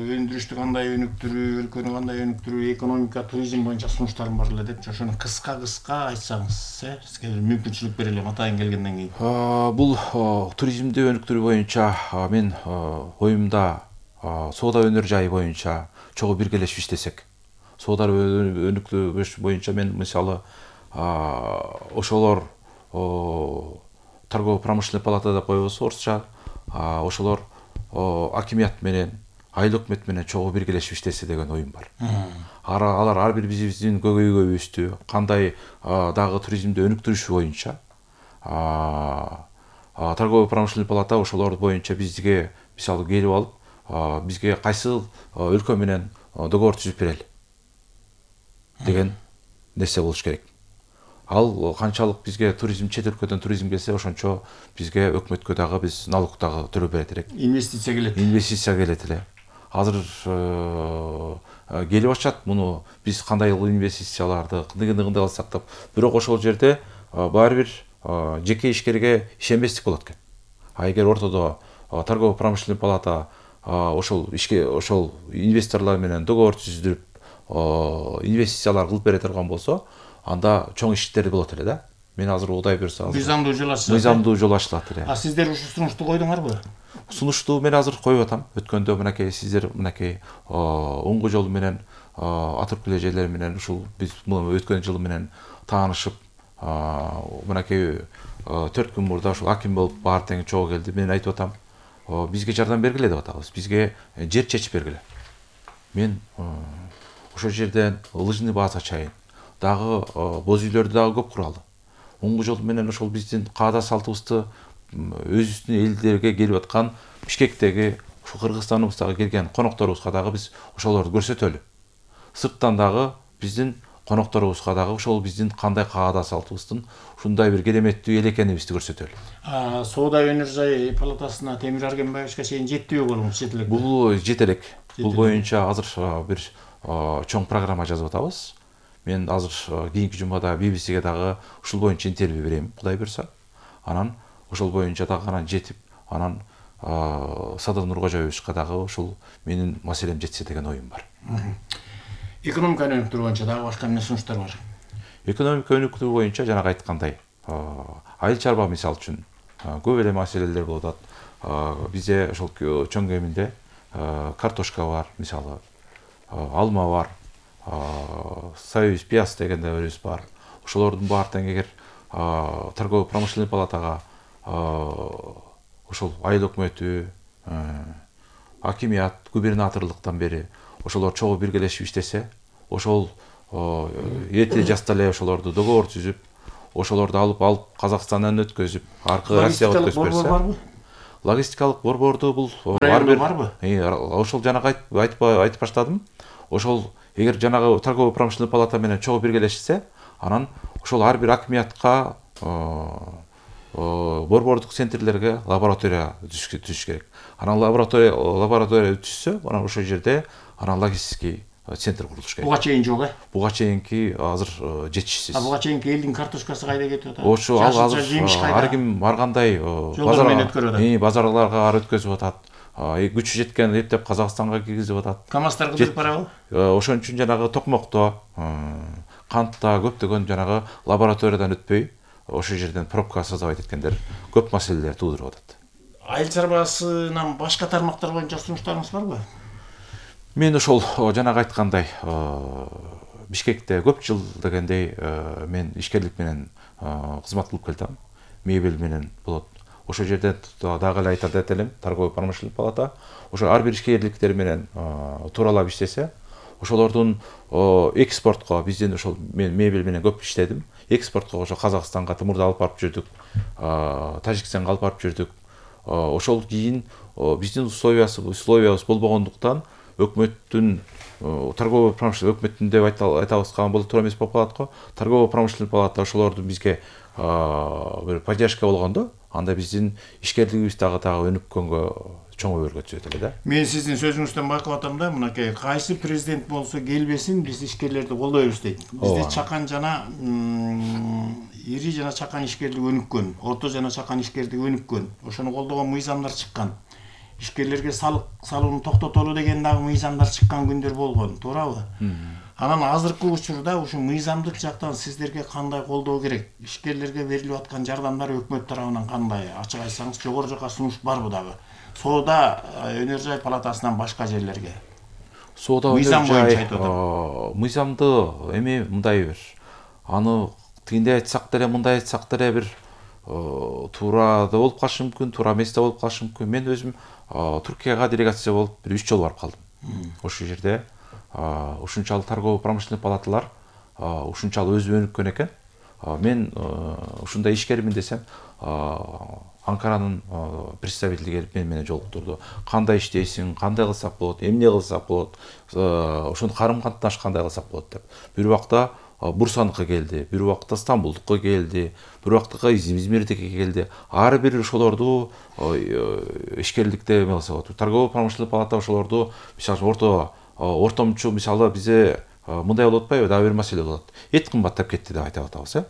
өндүрүштү кандай өнүктүрүү, өлкөнү кандай өнүктүрүү, экономика, туризм боюнча сунуштарым бар эле депчи. Ошону кыска айтсаңыз, сизге мүмкүнчүлүк берелим атайын келгенден кийин. Бул туризмди өнүктүрүү боюнча мен оюмда соода өнөр жайы боюнча чогуу биргелешип иштесек. Соода өнүктүрүү боюнча мен мисалы ошолор торгово-промышленный палата деп коебуз орусча. Ошолор акимият менен, айыл өкмөт менен чогуу биргелешип иштесе деген оюм бар. Алар ар бир биздин көйгөйүбүздү кандай дагы туризмди өнүктүрүш боюнча торгово-промышленный палата ошолор боюнча бизге мисалы келип алып, бизге кайсы өлкө менен договор түзүп берели деген нерсе болуш керек. Ал канчалык бизге туризм, чет өлкөдөн туризм келсе, ошончо бизге өкмөткө дагы биз налог дагы төлөп берет элек. Инвестиция келет эле. Азыр келип атышат. Муну биз кандай инвестицияларды кандай кылсак деп. Бирок ошол жерде баары бир жеке ишкерге ишенбестик болот экен. Эгер ортодо торгово-промышленный палата ошол инвесторлор менен договор түзүп, инвестициялар кылып бере турган болсо, анда чоң иштер болот эле да. Мен азыр Кудай буйрса мыйзамдуу жол ачылат эле. Сиздер ушул сунушту койдуңарбы? Сунушту мен азыр коюп атам. Өткөндө мынакей сиздер оңгу жол менен Атыркүл эжелер менен ушул биз өткөн жылы менен таанышып, мынакей 4 күн мурда ушул аким болуп баары тең чогуу келди. Мен айтып атам, бизге жардам бергиле деп атабыз. Бизге жер чечип бергиле. Мен ошол жерден лыжный база чайын, дагы боз үйлөрдү дагы көп куралы. Оңгу жол менен ошол биздин каада салтыбызды өзүбүздүн элдерге келип аткан Бишкектеги, ушул Кыргызстаныбызга келген конокторубузга дагы биз ошолорду көрсөтөлү. Сырттан дагы биздин конокторубузга дагы ошол биздин кандай каада салтыбыздын ушундай бир кереметтүү эл экенибизди көрсөтөлү. Соода өнөр жайы палатасына Темир Аргенбаевичке чейин жетпейби колуңуз, жете элек? Бул жете элек. Бул боюнча азыр бир чоң программа жазып атабыз. Мен азыр кийинки жумада BBC-ге дагы ушул боюнча интервью берем, Кудай буйрса. Анан ошол боюнча дагы жетип, анан Садыр Нуркожоевичке дагы ушул менин маселем жетсе деген оюм бар. Экономика өнүктүрүү боюнча дагы башка эмне сунуштар бар? Экономика өнүктүрүү боюнча жанагы айткандай айыл чарба мисалы үчүн көп эле маселелер болуп атат. Бизде ошол чоң кеминде картошка бар, мисалы, алма бар, союз пияз деген да өрүс бар. Ошолордун баардыгын эгер торгово-промышленный палатага ошол айыл өкмөтү, акимият, губернаторлуктан бери ошолор чогуу биргелешип иштесе, ошол эрте жаста эле ошолорду договор түзүп, ошолорду алып Казакстандан өткөзүп, аркы Россияга өткөзүп берсе. Логистикалык борборду бул барбы? Ошол жанагы айтып баштадым. Ошол эгер жанагы торгово-промышленный палата менен чогуу биргелешсе, анан ошол ар бир акимиятка борбордук центрлерге лаборатория түзүш керек. Анан лаборатория түзсө, анан ошол жерде анан логистический центр курулуш керек. Буга чейин жок, Буга чейинки азыр жетишсиз. Буга чейинки элдин картошкасы кайда кетип атат? Ошо азыр ар ким ар кандай базарларга өткөзүп атат. Күчү жеткен эптеп Казакстанга киргизип атат. КамАЗдар кызып барабы? Ошон үчүн жанагы токмокто, кантта көптөгөн жанагы лабораториядан өтпөй, ошол жерден пробка создавать эткендер көп маселелер туудуруп атат. Айыл чарбасынан башка тармактар боюнча сунуштарыңыз барбы? Мен ошол жанагы айткандай Бишкекте көп жыл дегендей мен ишкерлик менен кызмат кылып келдим. Мебель менен болот. Ошол жерде дагы эле айтат элем, торгово-промышленный палата ошо ар бир ишкерликтер менен тууралап иштесе, ошолордун экспортко бизден ошол мен мебель менен көп иштедим. Экспортко ошо Казакстанга тымырды алып барып жүрдүк, Тажикстанга алып барып жүрдүк. Ошол кийин биздин условиябыз болбогондуктан өкмөттүн торгово-промышленный өкмөттүн деп айтабызга болот туура эмес болуп калат го. Торгово-промышленный палата ошолорду бизге бир поддержка болгондо, анда биздин ишкерлигибиз дагы өнүккөнгө чоң өбөлгө түзөт эле да. Мен сиздин сөзүңүздөн байкап атам да, мынакей кайсы президент болсо келбесин биз ишкерлерди колдойбуз дейт. Бизде чакан жана ири жана чакан ишкерлик өнүккөн, орто жана чакан ишкерлик өнүккөн. Ошону колдогон мыйзамдар чыккан. Ишкерлерге салык салууну токтотолу деген дагы мыйзамдар чыккан күндөр болгон, туурабы? Анан азыркы учурда ушу мыйзамдык жактан сиздерге кандай колдоо керек? Ишкерлерге берилип аткан жардамдар өкмөт тарабынан кандай? Ачык айтсаңыз, жогору жака сунуш барбы дагы? Соода өнөр жай палатасынан башка жерлерге. Соода мыйзам боюнча айтып атам. Мыйзамды эми мындай бир аны тигиндей айтсак деле, мындай айтсак деле бир туура да болуп калышы мүмкүн, туура эмес да болуп калышы мүмкүн. Мен өзүм Түркияга делегация болуп бир 3 жолу барып калдым. Ошол жерде ушунчалык торгово-промышленный палаталар ушунчалык өзү өнүккөн экен. Мен ушундай ишкермин десем, Анкаранын представители келип менен жолуктурду. Кандай иштейсиң, кандай кылсак болот, эмне кылсак болот, ошону карым-катнаш кандай кылсак болот деп. Бир убакта Бурсаныкы келди, бир убакта Стамбулдукка келди, бир убакта Измирдикке келди. Ар бир ошолорду ишкерликте эме кылса болот. Торгово-промышленный палата ошолорду, мисалы ортомчу, мисалы бизде мындай болуп атпайбы, дагы бир маселе болот. Эт кымбаттап кетти деп айтып атабыз,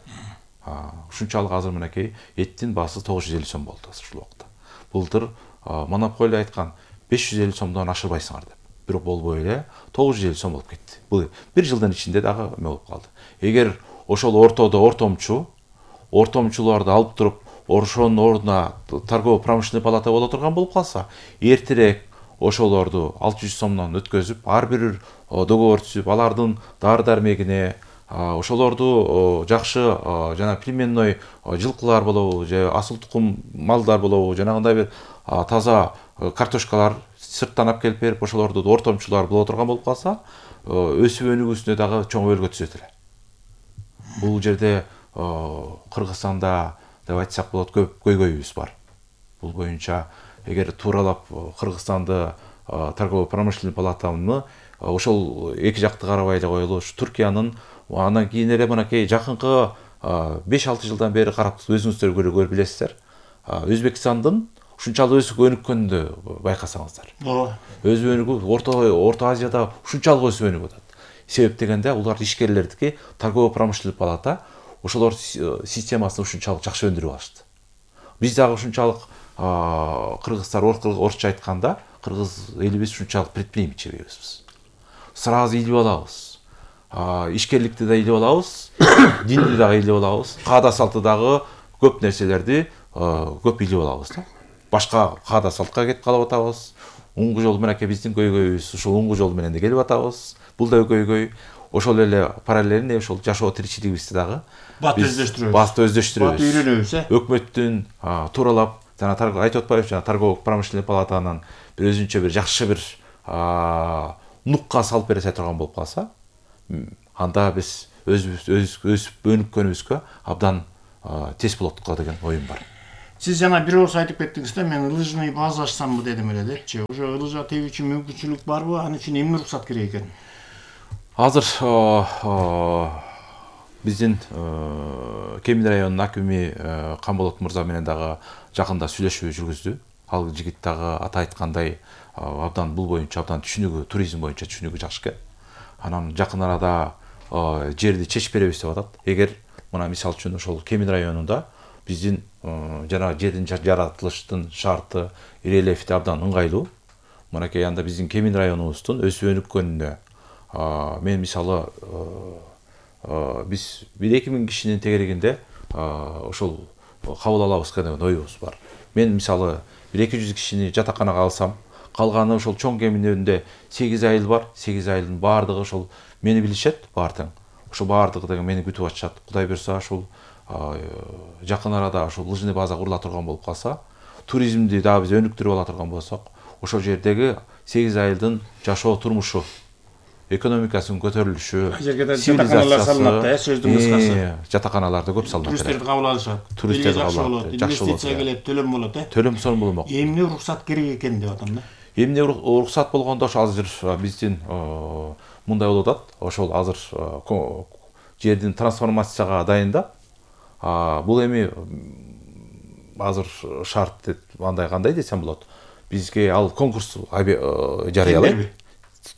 ушунчалык азыр мынакей эттин баасы 950 сом болду ушул убакта. Былтыр монополия айткан 550 сомдон ашырбайсыңар деп. Бирок болбой эле 950 сом болуп кетти. Бул бир жылдын ичинде дагы эме болуп калды. Эгер ошол ортодо ортомчуларды алып туруп, ошонун ордуна торгово-промышленный палата боло турган болуп калса, эртерээк ошолорду 600 сомдон өткөзүп, ар бир договор түзүп, алардын дары-дармегине, ошолорду жакшы жана племенной жылкылар болобу, же асыл тукум малдар болобу, жанагындай бир таза картошкалар сырттан алып келип берип, ошолорду ортомчулар боло турган болуп калса, өсүп өнүгүүсүнө дагы чоң өбөлгө түзөт эле. Бул жерде Кыргызстанда деп айтсак болот көп көйгөйүбүз бар. Бул боюнча эгер тууралап Кыргызстанды торгово-промышленный палатаны ошол эки жакты карабай эле коелу, Түркиянын андан кийин эле мынакей жакынкы 5-6 жылдан бери карап өзүңүздөр көрүп билесиздер. Өзбекстандын ушунчалык өсүп өнүккөнүндү байкасаңыздар. Өзү өнүгүп, Орто Азияда ушунчалык өсүп өнүгүп атат. Себеп дегенде улар ишкерлердики торгово-промышленный палата ошолор системасын ушунчалык жакшы өндүрүп алышты. Биз дагы ушунчалык кыргыздар орусча айтканда, кыргыз элибиз ушунчалык предприимчивибиз. Сразу илип алабыз. ишкерликти да ыйлеп алабыз, динди дагы ыйлеп алабыз, каада салты дагы көп нерселерди көп ыйлеп алабыз да. Башка каада салтка кетип калып атабыз. Уңгу жол менен биздин көйгөйүбүз ушул уңгу жол менен да келип атабыз. Бул да көйгөй. Ошол эле параллельно ошол жашоо тиричилигибизди дагы бат өздөштүрөбүз. Бат үйрөнөбүз, Өкмөттүн тууралап, жана айтып атпайбыз, жана торгово промышленный палатанын бир өзүнчө бир жакшы бир нукка салып бере турган болуп калса, анда биз өсүп өнүккөнүбүзгө абдан тез болот деген оюм бар. Сиз жана бир ооз айтып кеттиңиз да, мен лыжный база ачсамбы дедим эле депчи. Ошо лыжа тебүүчү мүмкүнчүлүк барбы? Аны үчүн эмне уруксат керек экен? Азыр биздин Кемин районунун акими Камболот мырза менен дагы жакында сүйлөшүү жүргүздү. Ал жигит дагы ата айткандай абдан бул боюнча абдан түшүнүгү, туризм боюнча түшүнүгү жакшы экен. Анан жакын арада жерди чечип беребиз деп атат. Эгер мына мисалы үчүн ошол Кемин районунда биздин жанагы жердин жаратылыштын шарты, рельефти абдан ыңгайлуу. Мынакей анда биздин Кемин районубуздун өсүп өнүккөнүнө мен мисалы биз 1-2 миң кишинин тегерегинде ошол кабыл алабыз деген оюбуз бар. Мен мисалы 1-200 кишини жатаканага алсам, калганы ошол чоң Кеминдө 8 айыл бар. 8 айылдын баардыгы ошол мени билишет, баардыгы. Ошол баардыгы деген мени күтүп атышат. Кудай буйрса ошол жакын арада ошол лыжный база курула турган болуп калса, туризмди дагы биз өнүктүрүп ала турган болсок, ошол жердеги 8 айылдын жашоо турмушу, экономикасынын көтөрүлүшү, жатаканалар салынат да, сөздүн кыскасы. Жатаканаларда көп салынат. Туристтерди кабыл алышат. Туристтерди кабыл алышат. Инвестиция келет, төлөм болот, Төлөм сонун болмок. Эмне уруксат керек экен деп атам да. Эмне уруксат болгондо ошо азыр биздин мындай болуп атат. Ошол азыр жердин трансформацияга дайын да. Бул эми азыр шарт андай кандай десем болот. Бизге ал конкурс жарыялайт.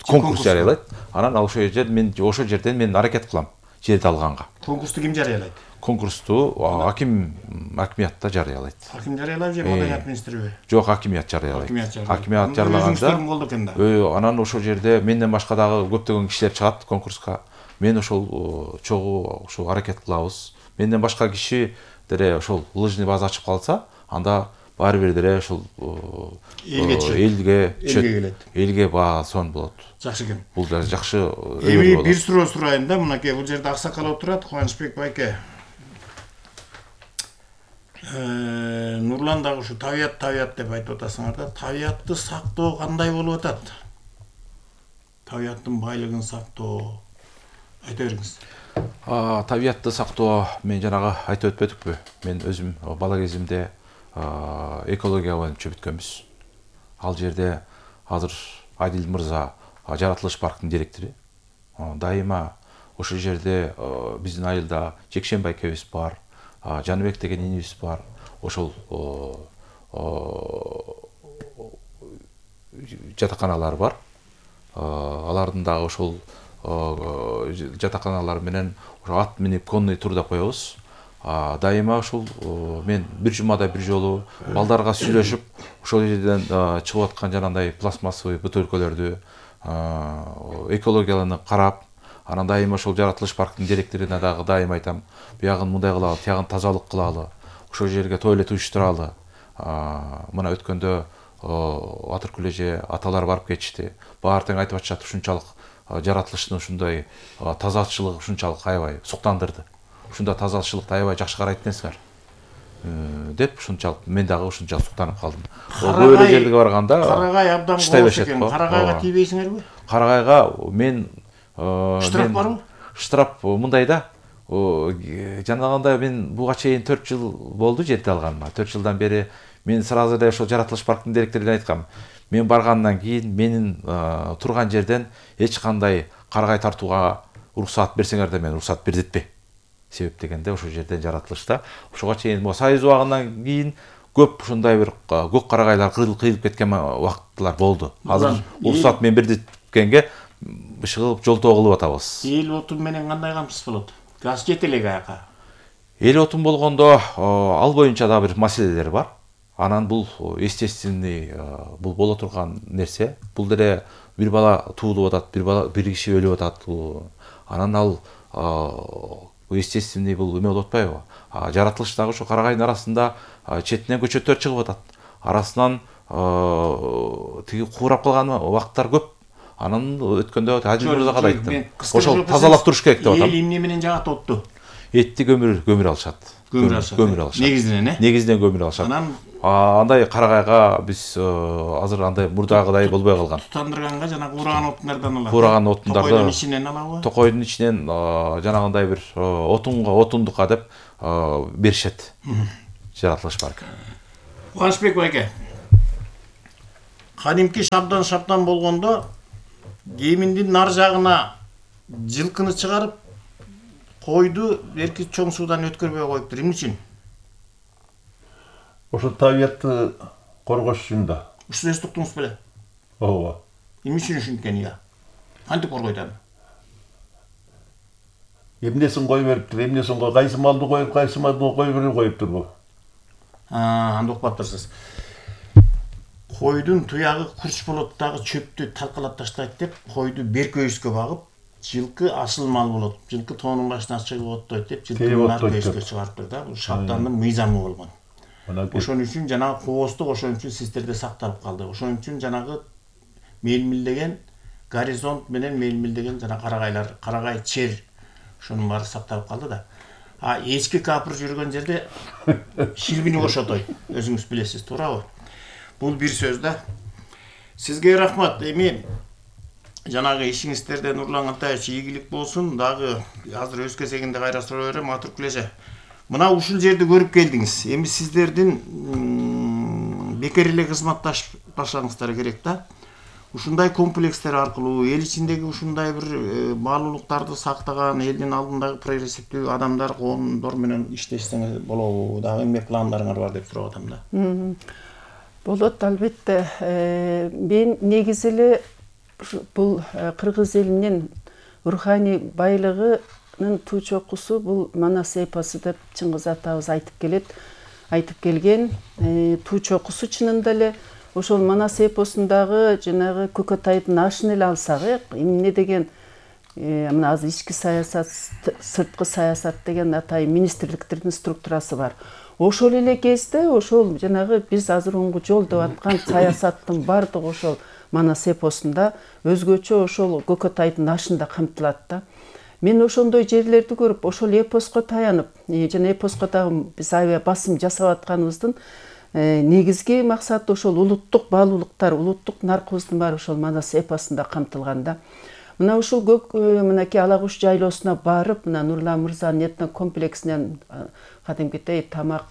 Конкурс жарыялайт. Анан ошол жерден мен аракет кылам жерди алганга. Конкурсту ким жарыялайт? Конкурсту акимиятта жарыялайт. Аким жарыялап же маданият министриби? Жок, акимият жарыялайт. Акимият жарылаганда анан ошол жерде менден башка дагы көптөгөн кишилер чыгат конкурска. Мен ошол чогуу ошол аракет кылабыз. Менден башка киши деле ошол лыжный база ачып калса, анда баары бир деле ошол элге келет. Элге баа сонун болот. Жакшы экен. Бул да жакшы эми бир суроо сурайын да, мынакей бул жерде аксакал отурат, Кубанычбек байке. Нурлан дагы ушу табият деп айтып атасыңар да, табиятты сактоо кандай болуп атат? Табияттын байлыгын сактоо айта бериңиз. Табиятты сактоо мен жанагы айтып өтпөдүкпү? Мен өзүм бала кезимде экология боюнча бүткөнбүз. Ал жерде азыр Адил мырза жаратылыш парктын директору. Дайыма ошол жерде биздин айылда Жекшен байкебиз бар, Жаныбек деген инибиз бар. Ошол жатаканалар бар. Алардын дагы ошол жатаканалар менен ат минип конный тур деп коебуз. Дайыма ошол мен бир жумада бир жолу балдарга сүйлөшүп, ошол жерден чыгып аткан жанагындай пластмассовый бөтөлкөлөрдү экологияларын карап, анан дайыма ошол жаратылыш парктын директоруна дагы дайыма айтам, буягын мындай кылалы, тиягын тазалык кылалы, ошол жерге туалет уюштуралы. Мына өткөндө Атыркүл эже аталар барып кетишти. Баары тең айтып атышат, ушунчалык жаратылыштын ушундай тазалыкчылыгы ушунчалык аябай суктандырды. Ушунда тазалыкчылыкты аябай жакшы карайт экенсиңер деп ушунчалык мен дагы ушунчалык суктанып калдым. Көбөлө жерге барганда Карагай абдан болот экен. Карагайга тийбейсиңерби? Карагайга мен штраф барбы? Штраф мындай да. Жанагындай мен буга чейин 4 жыл болду жерди алганыма. 4 жылдан бери мен сразу эле ошол жаратылыш парктын директоруна айткам. Мен баргандан кийин менин турган жерден эч кандай карагай тартууга уруксат берсеңер да мен уруксат бердетпей. Себеп дегенде ошол жерден жаратылышта ошого чейин Союз убагынан кийин көп ушундай бир көк карагайлар кыйылып кеткен убакыттар болду. Азыр уруксат мен бердеткенге ышыгып жолтоо кылып атабыз. Эл отун менен кандай камсыз болот? Газ жете элек аяка. Эл отун болгондо ал боюнча да бир маселелер бар. Анан бул естественный, бул боло турган нерсе. Бул деле бир бала туулуп атат, бир киши өлүп атат. Анан ал естественный бул эме болуп атпайбы? Жаратылыштагы ушу карагайдын арасында четинен көчөттөр чыгып атат. Арасынан тиги куурап калган убакыттар көп. Анан өткөндө Адил Мырзага да айттым. Ошол тазалап туруш керек деп атам. Эл эмне менен жагат отту? Этти көмүр алышат. Көмүр алышат. Негизинен көмүр алышат. Анан андай карагайга биз азыр андай мурдагыдай болбой калган. Тутандырганга жанагы ураган отундардан алат. Ураган отундарды Токойдун ичинен алабы? Токойдун ичинен жанагындай бир отундукка деп беришет. Жаратылыш бар. Кубанычбек байке. Кадимки шабдан болгондо Кеминдин нар жагына жылкыны чыгарып койду эрки чоң суудан өткөрбөй коюптур. Эмне үчүн? Ошо табиятты коргош үчүн да. Ушул сөз туктуңуз беле? Ооба. Эмне үчүн ушинткен я? Кантип коргойт аны? Эмнесин кой бериптир, эмнесин кайсы малды коюп, кайсы малды кой берип коюптур бу. Анда укпаптырсыз. Койдун туягы курч болот дагы чөптү талкалап таштайт деп, койду беркөйүскө багып, жылкы асыл мал болот. Жылкы тоонун башына чыгып оттойт деп, жылкыны беркөйүскө чыгарыптыр да. Бул шабдандын мыйзамы болгон. Ошон үчүн жанагы кооздук ошон үчүн сиздерде сакталып калды. Ошон үчүн жанагы мелмилдеген горизонт менен мелмилдеген жана карагайлар, карагай чер ошонун баары сакталып калды да. Эски капыр жүргөн жерде шилбини кошотойт. Өзүңүз билесиз, туурабы? Бул бир сөз да. Сизге рахмат. Эми жанагы ишиңиздерде Нурлан Алтаевич ийгилик болсун. Дагы азыр өз кезегинде кайра суроо берем, атыр күлөсө. Мына ушул жерди көрүп келдиңиз. Эми сиздердин бекер эле кызматташпашыңыздар керек да. Ушундай комплекстер аркылуу эл ичиндеги ушундай бир баалуулуктарды сактаган, элдин алдындагы прогрессивдүү адамдар, коомдор менен иштешсеңиз болобу? Дагы эмне пландарыңар бар деп сурап атам да. Болот, албетте. Мен негизи эле бул кыргыз элинин руханий байлыгынын туу чокусу бул Манас эпосу деп Чыңгыз атабыз айтып келген. Туу чокусу чынында эле ошол Манас эпосундагы жанагы Көкөтайдын ашын эле алсак, эмне деген мына азыр ички саясат, сырткы саясат деген атайын министрликтердин структурасы бар. Ошол эле кезде ошол жанагы биз азыр оңгу жол деп аткан саясаттын бардыгы ошол Манас эпосунда өзгөчө ошол Көкөтайдын ашында камтылат да. Мен ошондой жерлерди көрүп, ошол эпоско таянып, жана эпоско дагы биз аябай басым жасап атканыбыздын негизги максаты ошол улуттук баалуулуктар, улуттук наркыбыздын баары ошол Манас эпосунда камтылган да. Мына ушул мынакей Ала Куш жайлоосуна барып, мына Нурлан Мырзанын этно комплексинен кадимкидей тамак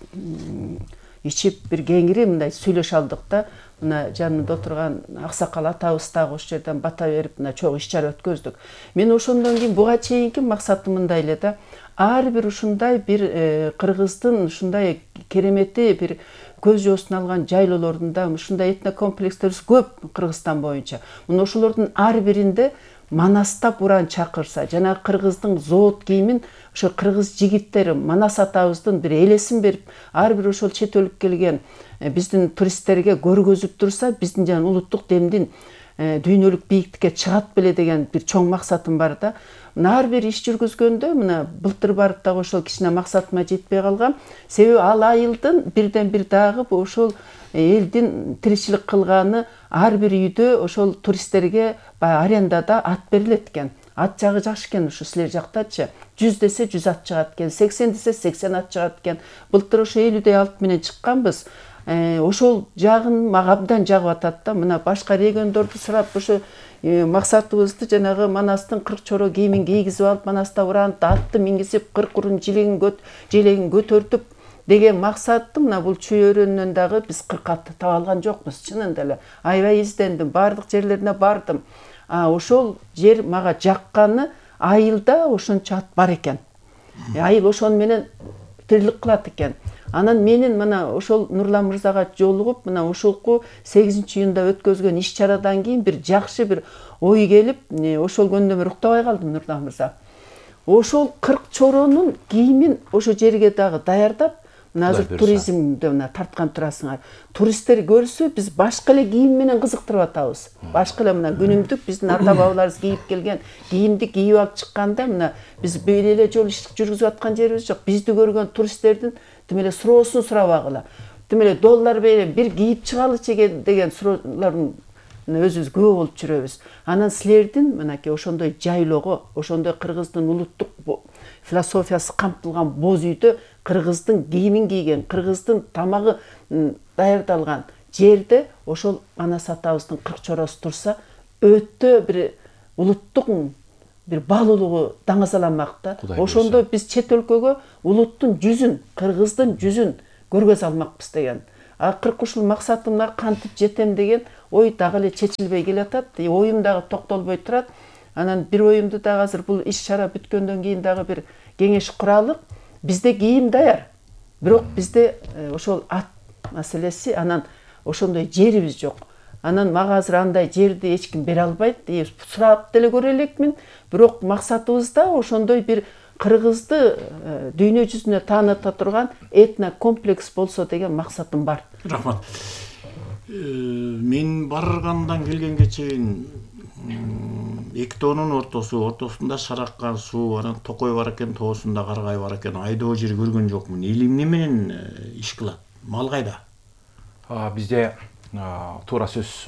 ичип бир кеңири мындай сүйлөшө алдык да. Мына жанымда отурган аксакал атабыз дагы ошол жерден бата берип, мына чогуу иш-чара өткөздүк. Мен ошондон кийин буга чейинки максатым мындай эле да. Ар бир ушундай бир кыргыздын ушундай керемети бир көз жоосун алган жайлоолорунда ушундай этно комплекстерибиз көп Кыргызстан боюнча. Мына ошолордун ар биринде Манастап уран чакырса, жана кыргыздын зоот кийимин ошо кыргыз жигиттери Манас атабыздын бир элесин берип, ар бир ошол чет өлүп келген биздин туристтерге көргөзүп турса, биздин жана улуттук демдин дүйнөлүк бийиктикке чыгат беле деген бир чоң максатым бар да. Ар бир иш жүргүзгөндө мына былтыр барып дагы ошол кичине максатыма жетпей калгам. Себеби ал айылдын бирден бир дагы ошол элдин тиричилик кылганы ар бир үйдө ошол туристтерге баягы арендада ат берилет экен. Ат жагы жакшы экен ушу силер жактачы. 100 десе 100 ат чыгат экен, 80 десе 80 ат чыгат экен. Былтыр ошо 50 алт менен чыкканбыз. Ошол жагын мага абдан жагып атат да. Мына башка региондорду сурап ошо максатыбызды жанагы Манастын 40 чоро кийимин кийгизип алып, Манаста уранып, атты мингизип, 40 урун желегин көтөртүп деген максатты мына бул чүй өрөөнүнөн дагы биз 40 атты таба алган жокпуз. Чынында эле аябай издендим, бардык жерлерине бардым. Ошол жер мага жакканы айылда ошончо ат бар экен. Айыл ошону менен тирилик кылат экен. Анан менин мына ошол Нурлан Мырзага жолугуп, мына ушулку 8-июнда өткөзгөн иш-чарадан кийин бир жакшы бир ой келип, ошол көндө мен уктабай калдым Нурлан Мырза. Ошол 40 чоронун кийимин ошо жерге дагы даярдап, Мына азыр Кудай буйруса. туризмди мына тарткан турасыңар. Туристтер көрсө биз башка эле кийим менен кызыктырып атабыз. Башка эле мына күнүмдүк биздин ата бабаларыбыз кийип келген кийимди кийип алып чыкканда мына биз бир эле жолу иш жүргүзүп аткан жерибиз жок. Бизди көргөн туристтердин тим эле суроосун сурабагыла. Тим эле доллар берип бир кийип чыгалычы деген суроолордун өзүбүз көп болуп жүрөбүз. Анан силердин мынакей ошондой жайлоого, ошондой кыргыздын улуттук философиясы камтылган боз үйдө кыргыздын кийимин кийген, кыргыздын тамагы даярдалган жерде ошол анас атабыздын кырк чоросу турса, өтө бир улуттук бир баалуулугу даңазаланмак да. Ошондо биз чет өлкөгө улуттун жүзүн, кыргыздын жүзүн көргөзө алмакпыз деген. Акыркы ушул максатымга кантип жетем деген ой дагы эле чечилбей келатат. Оюм дагы токтолбой турат. Анан бир оюмду дагы азыр бул иш-чара бүткөндөн кийин дагы бир кеңеш куралык. Бизде кийим даяр. Бирок бизде ошол ат маселеси, анан ошондой жерибиз жок. Анан мага азыр андай жерди эч ким бере албайт. Сурап деле көрө элекмин. Бирок максатыбыз да ошондой бир кыргызды дүйнө жүзүнө тааныта турган этнокомплекс болсо деген максатым бар. Рахмат. Мен баргандан келгенге чейин эки тоонун ортосунда Шаракка суу, анан Токой бар экен, тоосунда Каргай бар экен. Айдоо жер көргөн жокмун. Эл эмне менен иш кылат? Мал кайда? Бизде туура сөз,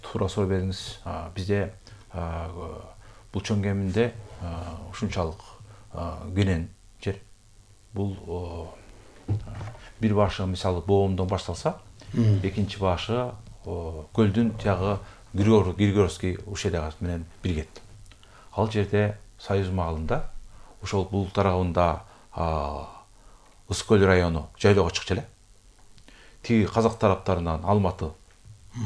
туура суроо бериңиз. Бизде бул чоң кеминде ушунчалык кенен жер. Бул бир башы мисалы Боомдон башталса, экинчи башы көлдүн тиягы Григорский ущелье менен биргет. Ал жерде Союз маалында ошол бул тарабында Ысык көл району жайлоого чыкчу эле. Тиги казак тараптарынан Алматы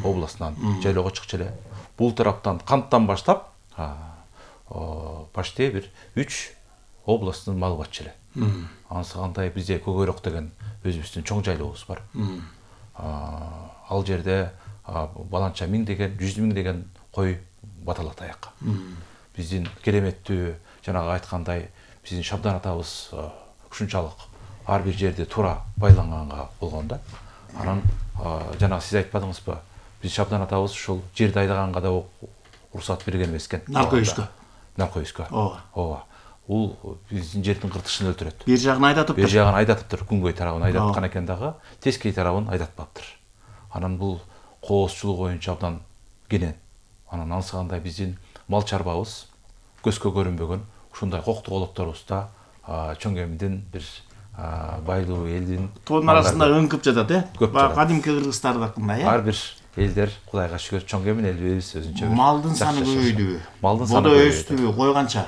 областынан жайлоого чыкчу эле. Бул тараптан Канттан баштап почти бир 3 областтын малы батчу эле. Анысы кандай бизде Көгөрөк деген өзүбүздүн чоң жайлообуз бар. Ал жерде баланча 1000 деген, 100 000 деген кой баталат аякка. Биздин кереметтүү жанагы айткандай биздин Шабдан атабыз ушунчалык ар бир жерде туура байланганга болгондо, анан жанагы сиз айтпадыңызбы? Биз Шабдан атабыз ушул жерди айдаганга да уруксат берген эмес экен. Наркоюзга. Ооба. Ул биздин жердин кыртышын өлтүрөт. Бир жагын айдатыптыр. Бир жагын айдатыптыр, күнгөй тарабын айдаткан экен дагы, тескей тарабын айдатпаптыр. Анан бул коосчулук боюнча абдан кенен. Анан ансыгандай биздин мал чарбабыз көзгө көрүнбөгөн ушундай коктук олокторубузда чоң кемиден бир байлуу элдин тоонун арасында ыңкып жатат, Баягы кадимки кыргызстардыкындай, ар бир элдер Кудайга шүгүр чоң кемин элибиз өзүнчө. Малдын саны көбөйдүбү? Малдын саны бодо өстүбү? Кой канча?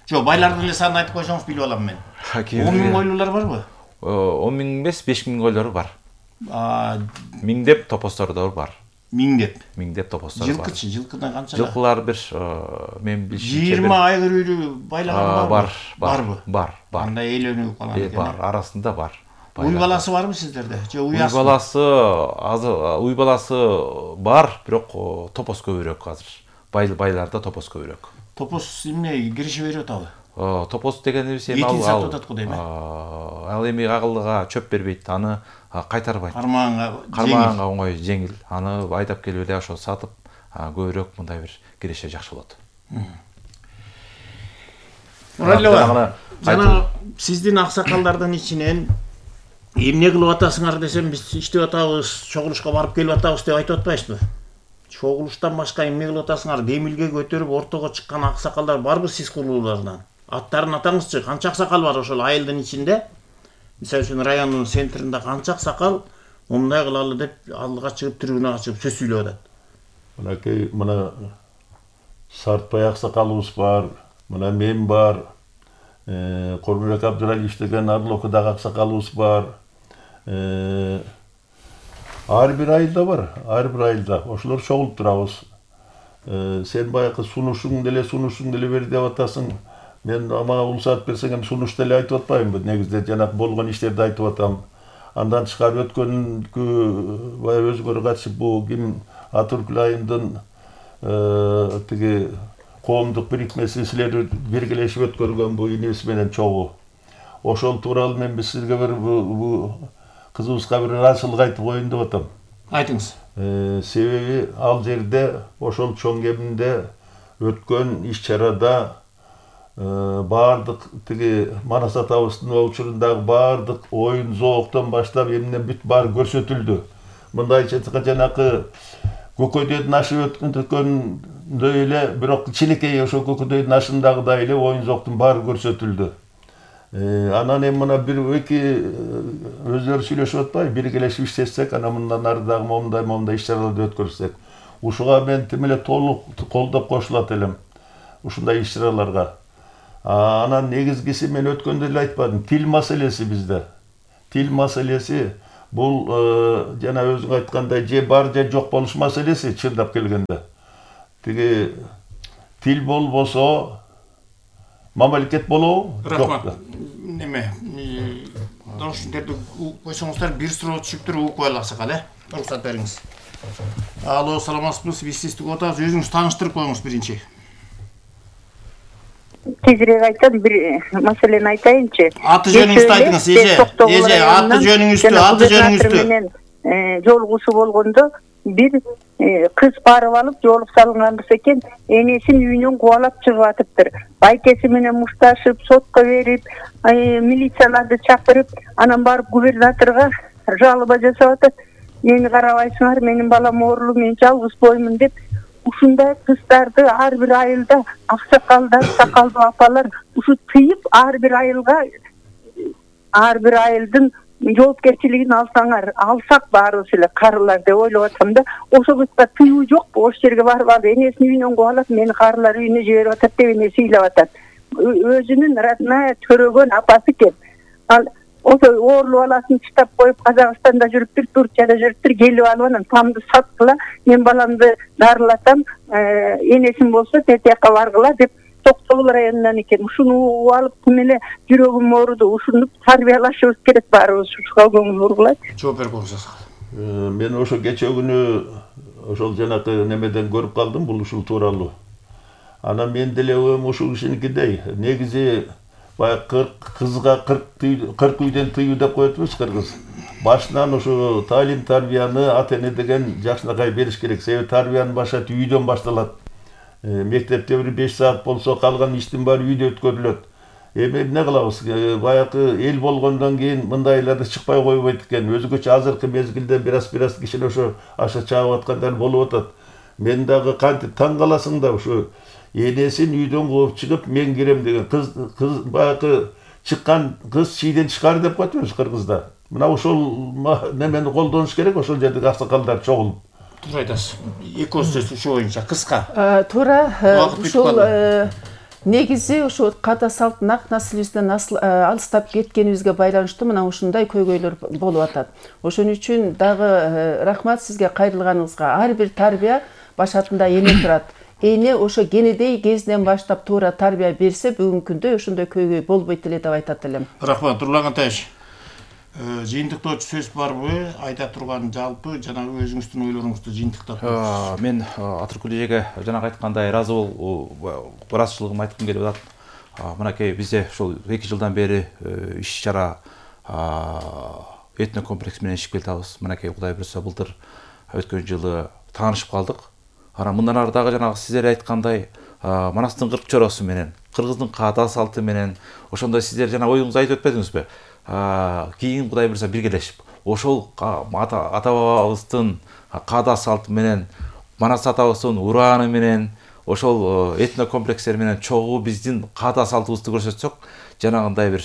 Жок, байлардын эле санын айтып койсоңуз билип алам мен. 10 000 койлуулар барбы? 10 000 эмес, 5 000 койлору бар. 1000 деп топостор да бар. 1000 деп. 1000 деп топостор бар. Жылкычы, жылкыдан канча? Жылкылар бир мен билишимче 20 айгыр үйлү байлаган барбы? Барбы? Бар. Андай эйлөнүп калган экен. Бар, арасында бар. Уй баласы барбы сиздерде? Же уясы? Уй баласы бар, бирок топос көбүрөөк азыр. Байларда топос көбүрөөк. Топос эмне кириши берип атабы? Топос дегенибиз эми сатып атат го дейм. Ал эми агылга чөп бербейт, аны кайтарбайт. Кармаганга оңой, жеңил. Аны айдап келип эле ошо сатып, көбүрөөк мындай бир киреше жакшы болот. Жана сиздин аксакалдардын ичинен эмне кылып атасыңар десем, биз иштеп атабыз, чогулушка барып келип атабыз деп айтып атпайсызбы? Чогулуштан башка эмне кылып атасыңар? Демилге көтөрүп ортого чыккан аксакалдар барбы сиз курулуулардан? Аттарын атаңызчы, канча аксакал бар ошол айылдын ичинде? Мисалы үчүн райондун центринде канча аксакал мындай кылалы деп алдыга чыгып, трибунага чыгып сөз сүйлөп атат? Мынакей мына Сартбай аксакалыбыз бар, мына мен бар, Корбек Абдыралиев деген Арлокудагы аксакалыбыз бар. Ар бир айылда бар, ар бир айылда. Ошолор чогулуп турабыз. Сен баягы сунушуң деле бер деп атасың. Мен мага уруксат берсең эми сунуш деле айтып атпаймынбы? Негизде жанагы болгон иштерди айтып атам. Андан тышкары өткөнгү баягы өзгөрө катышып бул ким Атыркүл айылдын тиги коомдук бирикмеси силер биргелешип өткөргөн бу инибиз менен чогуу. ошол тууралуу мен сизге бир бул кызыбызга бир ырайчылык айтып коеюн деп атам. Айтыңыз. Себеби ал жерде ошол чоң кеминде өткөн иш-чарада баардык тиги Манас атабыздын учурундагы баардык оюн зооктон баштап эмне бүт баары көрсөтүлдү. Мындайча айтканда жанакы көкөйдөн ашып өткөндөй эле, бирок кичинекей ошол көкөйдөн ашындагыдай эле оюн зооктун баары көрсөтүлдү. Анан эми мына бир эки өзлөрү сүйлөшүп атпайбы, биргелешип иштесек, анан мындан ары дагы момундай иш-чараларды өткөрсөк. Ушуга мен тим эле толук колдоп кошулат элем. Ушундай иш-чараларга. Анан негизгиси мен өткөндө эле айтпадым, тил маселеси bizde. Тил маселеси бул жана өзүң айткандай же бар же жок болуш маселеси чындап келгенде. Тиги тил болбосо мамлекет болобу? Рахмат. Неме? Ошонтерди койсоңуздар бир суроо түшүптүр, угуп кое алсак эле. Уруксат бериңиз. Алло, саламатсызбы? Биз сизди күтүп атабыз. Өзүңүз тааныштырып коюңуз биринчи. Тезирээк айтам, бир маселени айтайынчы. Аты жөнүңүздү айтыңыз, эже, аты жөнүңүздү. Жолугуусу болгондо бир кыз барып алып жолук салынганбыз экен, энесин үйүнөн кубалап чыгып атыптыр. Байкеси менен мушташып, сотко берип, милицияларды чакырып, анан барып губернаторго жалоба жасап атат. Мени карабайсыңар, менин балам оорулуу, мен жалгыз боймун деп. Ушундай кыздарды ар бир айылда аксакалдар, сакалдуу апалар ушу тыйып, ар бир айылга, ар бир айылдын жоопкерчилигин алсак баарыбыз эле карылар деп ойлоп атам да. Ошо кызга тыюу жокпу? Ошол жерге барып алып энесинин үйүнөн кубалап, мени карылар үйүнө жиберип атат деп эне ыйлап атат. Өзүнүн родная төрөгөн апасы экен. Ал ошо оорулуу баласын чыдап коюп, Казакстанда жүрүптүр, Турцияда жүрүптүр, келип алып анан тамды саткыла, мен баламды дарылатам, энесин болсо тетиякка баргыла деп Токтогул районунан экен. Ушуну угуп алып, тим эле жүрөгүм ооруду. Ушуну тарбиялашыбыз керек баарыбыз. Ушуга көңүл бургулайт. Жооп бериңиз. Мен ошо кече күнү ошол жанакы немеден көрүп калдым бул ушул тууралуу. Анан мен деле ушул кишиникидей. Негизи баягы кызга 40 үйдөн тыюу деп коетпуз кыргыз. Башынан ушу таалим тарбияны ата эне деген жакшынакай бериш керек. Себеби тарбиянын баштап үйдөн башталат. Мектепте бир 5 саат болсо калган иштин баары үйдө өткөрүлөт. Эми эмне кылабыз? Баягы эл болгондон кийин мындайларды чыкпай койбойт экен. Өзгөчө азыркы мезгилде бираз киши ошо аша чаап аткандар болуп атат. Мен дагы кантип таң каласың да ушу энесин үйдөн кууп чыгып мен кирем деген кыз баягы чыккан кыз чийден чыкар деп коетпуз кыргызда. Мына ошол немени колдонуш керек, ошол жердеги аксакалдар чогулуп. Туура айтасыз. Эки сөз ушу боюнча кыска. Туура, ушул негизи ушу ката салттын ак наслибизден алыстап кеткенибизге байланыштуу мына ушундай көйгөйлөр болуп атат. Ошон үчүн дагы рахмат сизге кайрылганыңызга. Ар бир тарбия башатында эне турат. Эне ошо кенедей кезинен баштап туура тарбия берсе, бүгүнкү күндө ошондой көйгөй болбойт эле деп айтат элем. Рахмат, Нурлан Кантаевич. Жыйынтыктоочу сөз барбы? Айта турган жалпы жана өзүңүздүн ойлоруңузду жыйынтыктап коюңуз. Мен Атыркүл эжеге жанагы айткандай ыраазы ыраазычылыгымды айткым келип атат. Мынакей бизде ушул 2 жылдан бери иш-чара этно комплекс менен ишип келатабыз. Мынакей Кудай буйрса былтыр өткөн жылы таанышып калдык. Анан мындан ары дагы жанагы сиздер айткандай Манастын 40 чоросу менен, кыргыздын каада салты менен ошондой сиздер жана оюңузду айтып өтпөдүңүзбү? Кийин Кудай буйрса биргелешип ошол ата бабабыздын каада салты менен, Манас атабыздын урааны менен, ошол этно комплекстер менен чогуу биздин каада салтыбызды көрсөтсөк, жанагындай бир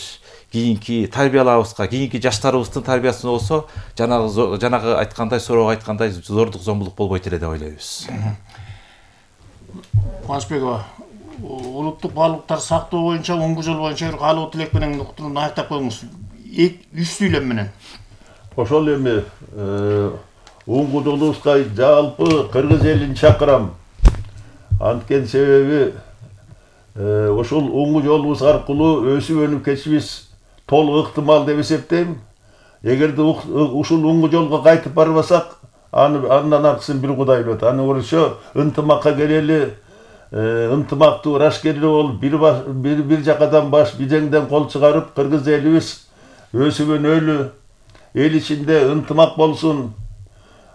кийинки тарбиялабызга, кийинки жаштарыбыздын тарбиясына болсо, жанагы айткандай, сороого айткандай зордук зомбулук болбойт эле деп ойлойбуз. Кубанычбекова, улуттук баалуулуктарды сактоо боюнча 10 жыл боюнча бир каалоо тилек менен уктурууну аяктап коюңуз. 3 сүйлөм менен. Ошол эми уңгудулубузга жалпы кыргыз элин чакырам. Анткен себеби ошол уңгу жолубуз аркылуу өсүп өнүп кетишибиз толук ыктымал деп эсептейм. Эгерде ушул уңгу жолго кайтып барбасак, андан аркысын бир Кудай билет. Аны көрсө ынтымакка келели, ынтымактуу ырашкерлүү болуп бир жакадан баш бижеңден кол чыгарып кыргыз элибиз өсүп өнөлү, эл ичинде ынтымак болсун.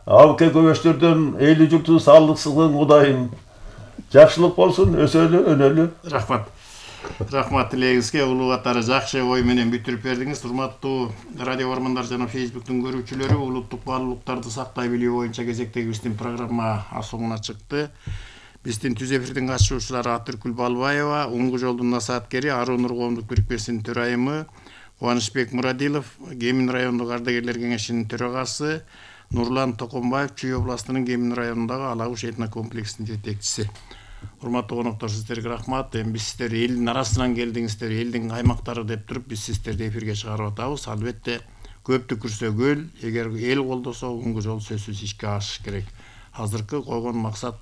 Абке көбөштөрдөн элүү журту саалыксыздыгын кудайым. Жакшылык болсун, өсөлү, өнөлү. Рахмат тилегиңизге, улуу катары жакшы ой менен бүтүрүп бердиңиз. Урматтуу радио бармандар жана Facebooktун көрүүчүлөрү, улуттук баалуулуктарды сактай билүү боюнча кезектеги биздин программа соңуна чыкты. Биздин түз эфирдин катышуучулары Атыркүл Балбаева, Оңгу жолдун насааткери, Аруу Нур коомдук бирикмесинин төрайымы, Кубанычбек Мурадилов, Кемин райондук ардагерлер кеңешинин төрагасы, Нурлан Токонбаев, Чүй областынын Кемин районундагы Алагуш этнокомплексинин жетекчиси. Урматтуу коноктор, сиздерге рахмат. Эми биз сиздер элдин арасынан келдиңиздер, элдин каймактары деп туруп биз сиздерди эфирге чыгарып атабыз. Албетте көптү күрсө көл, эгер эл колдосо Оңгу жол сөзсүз ишке ашыш керек. Азыркы койгон максат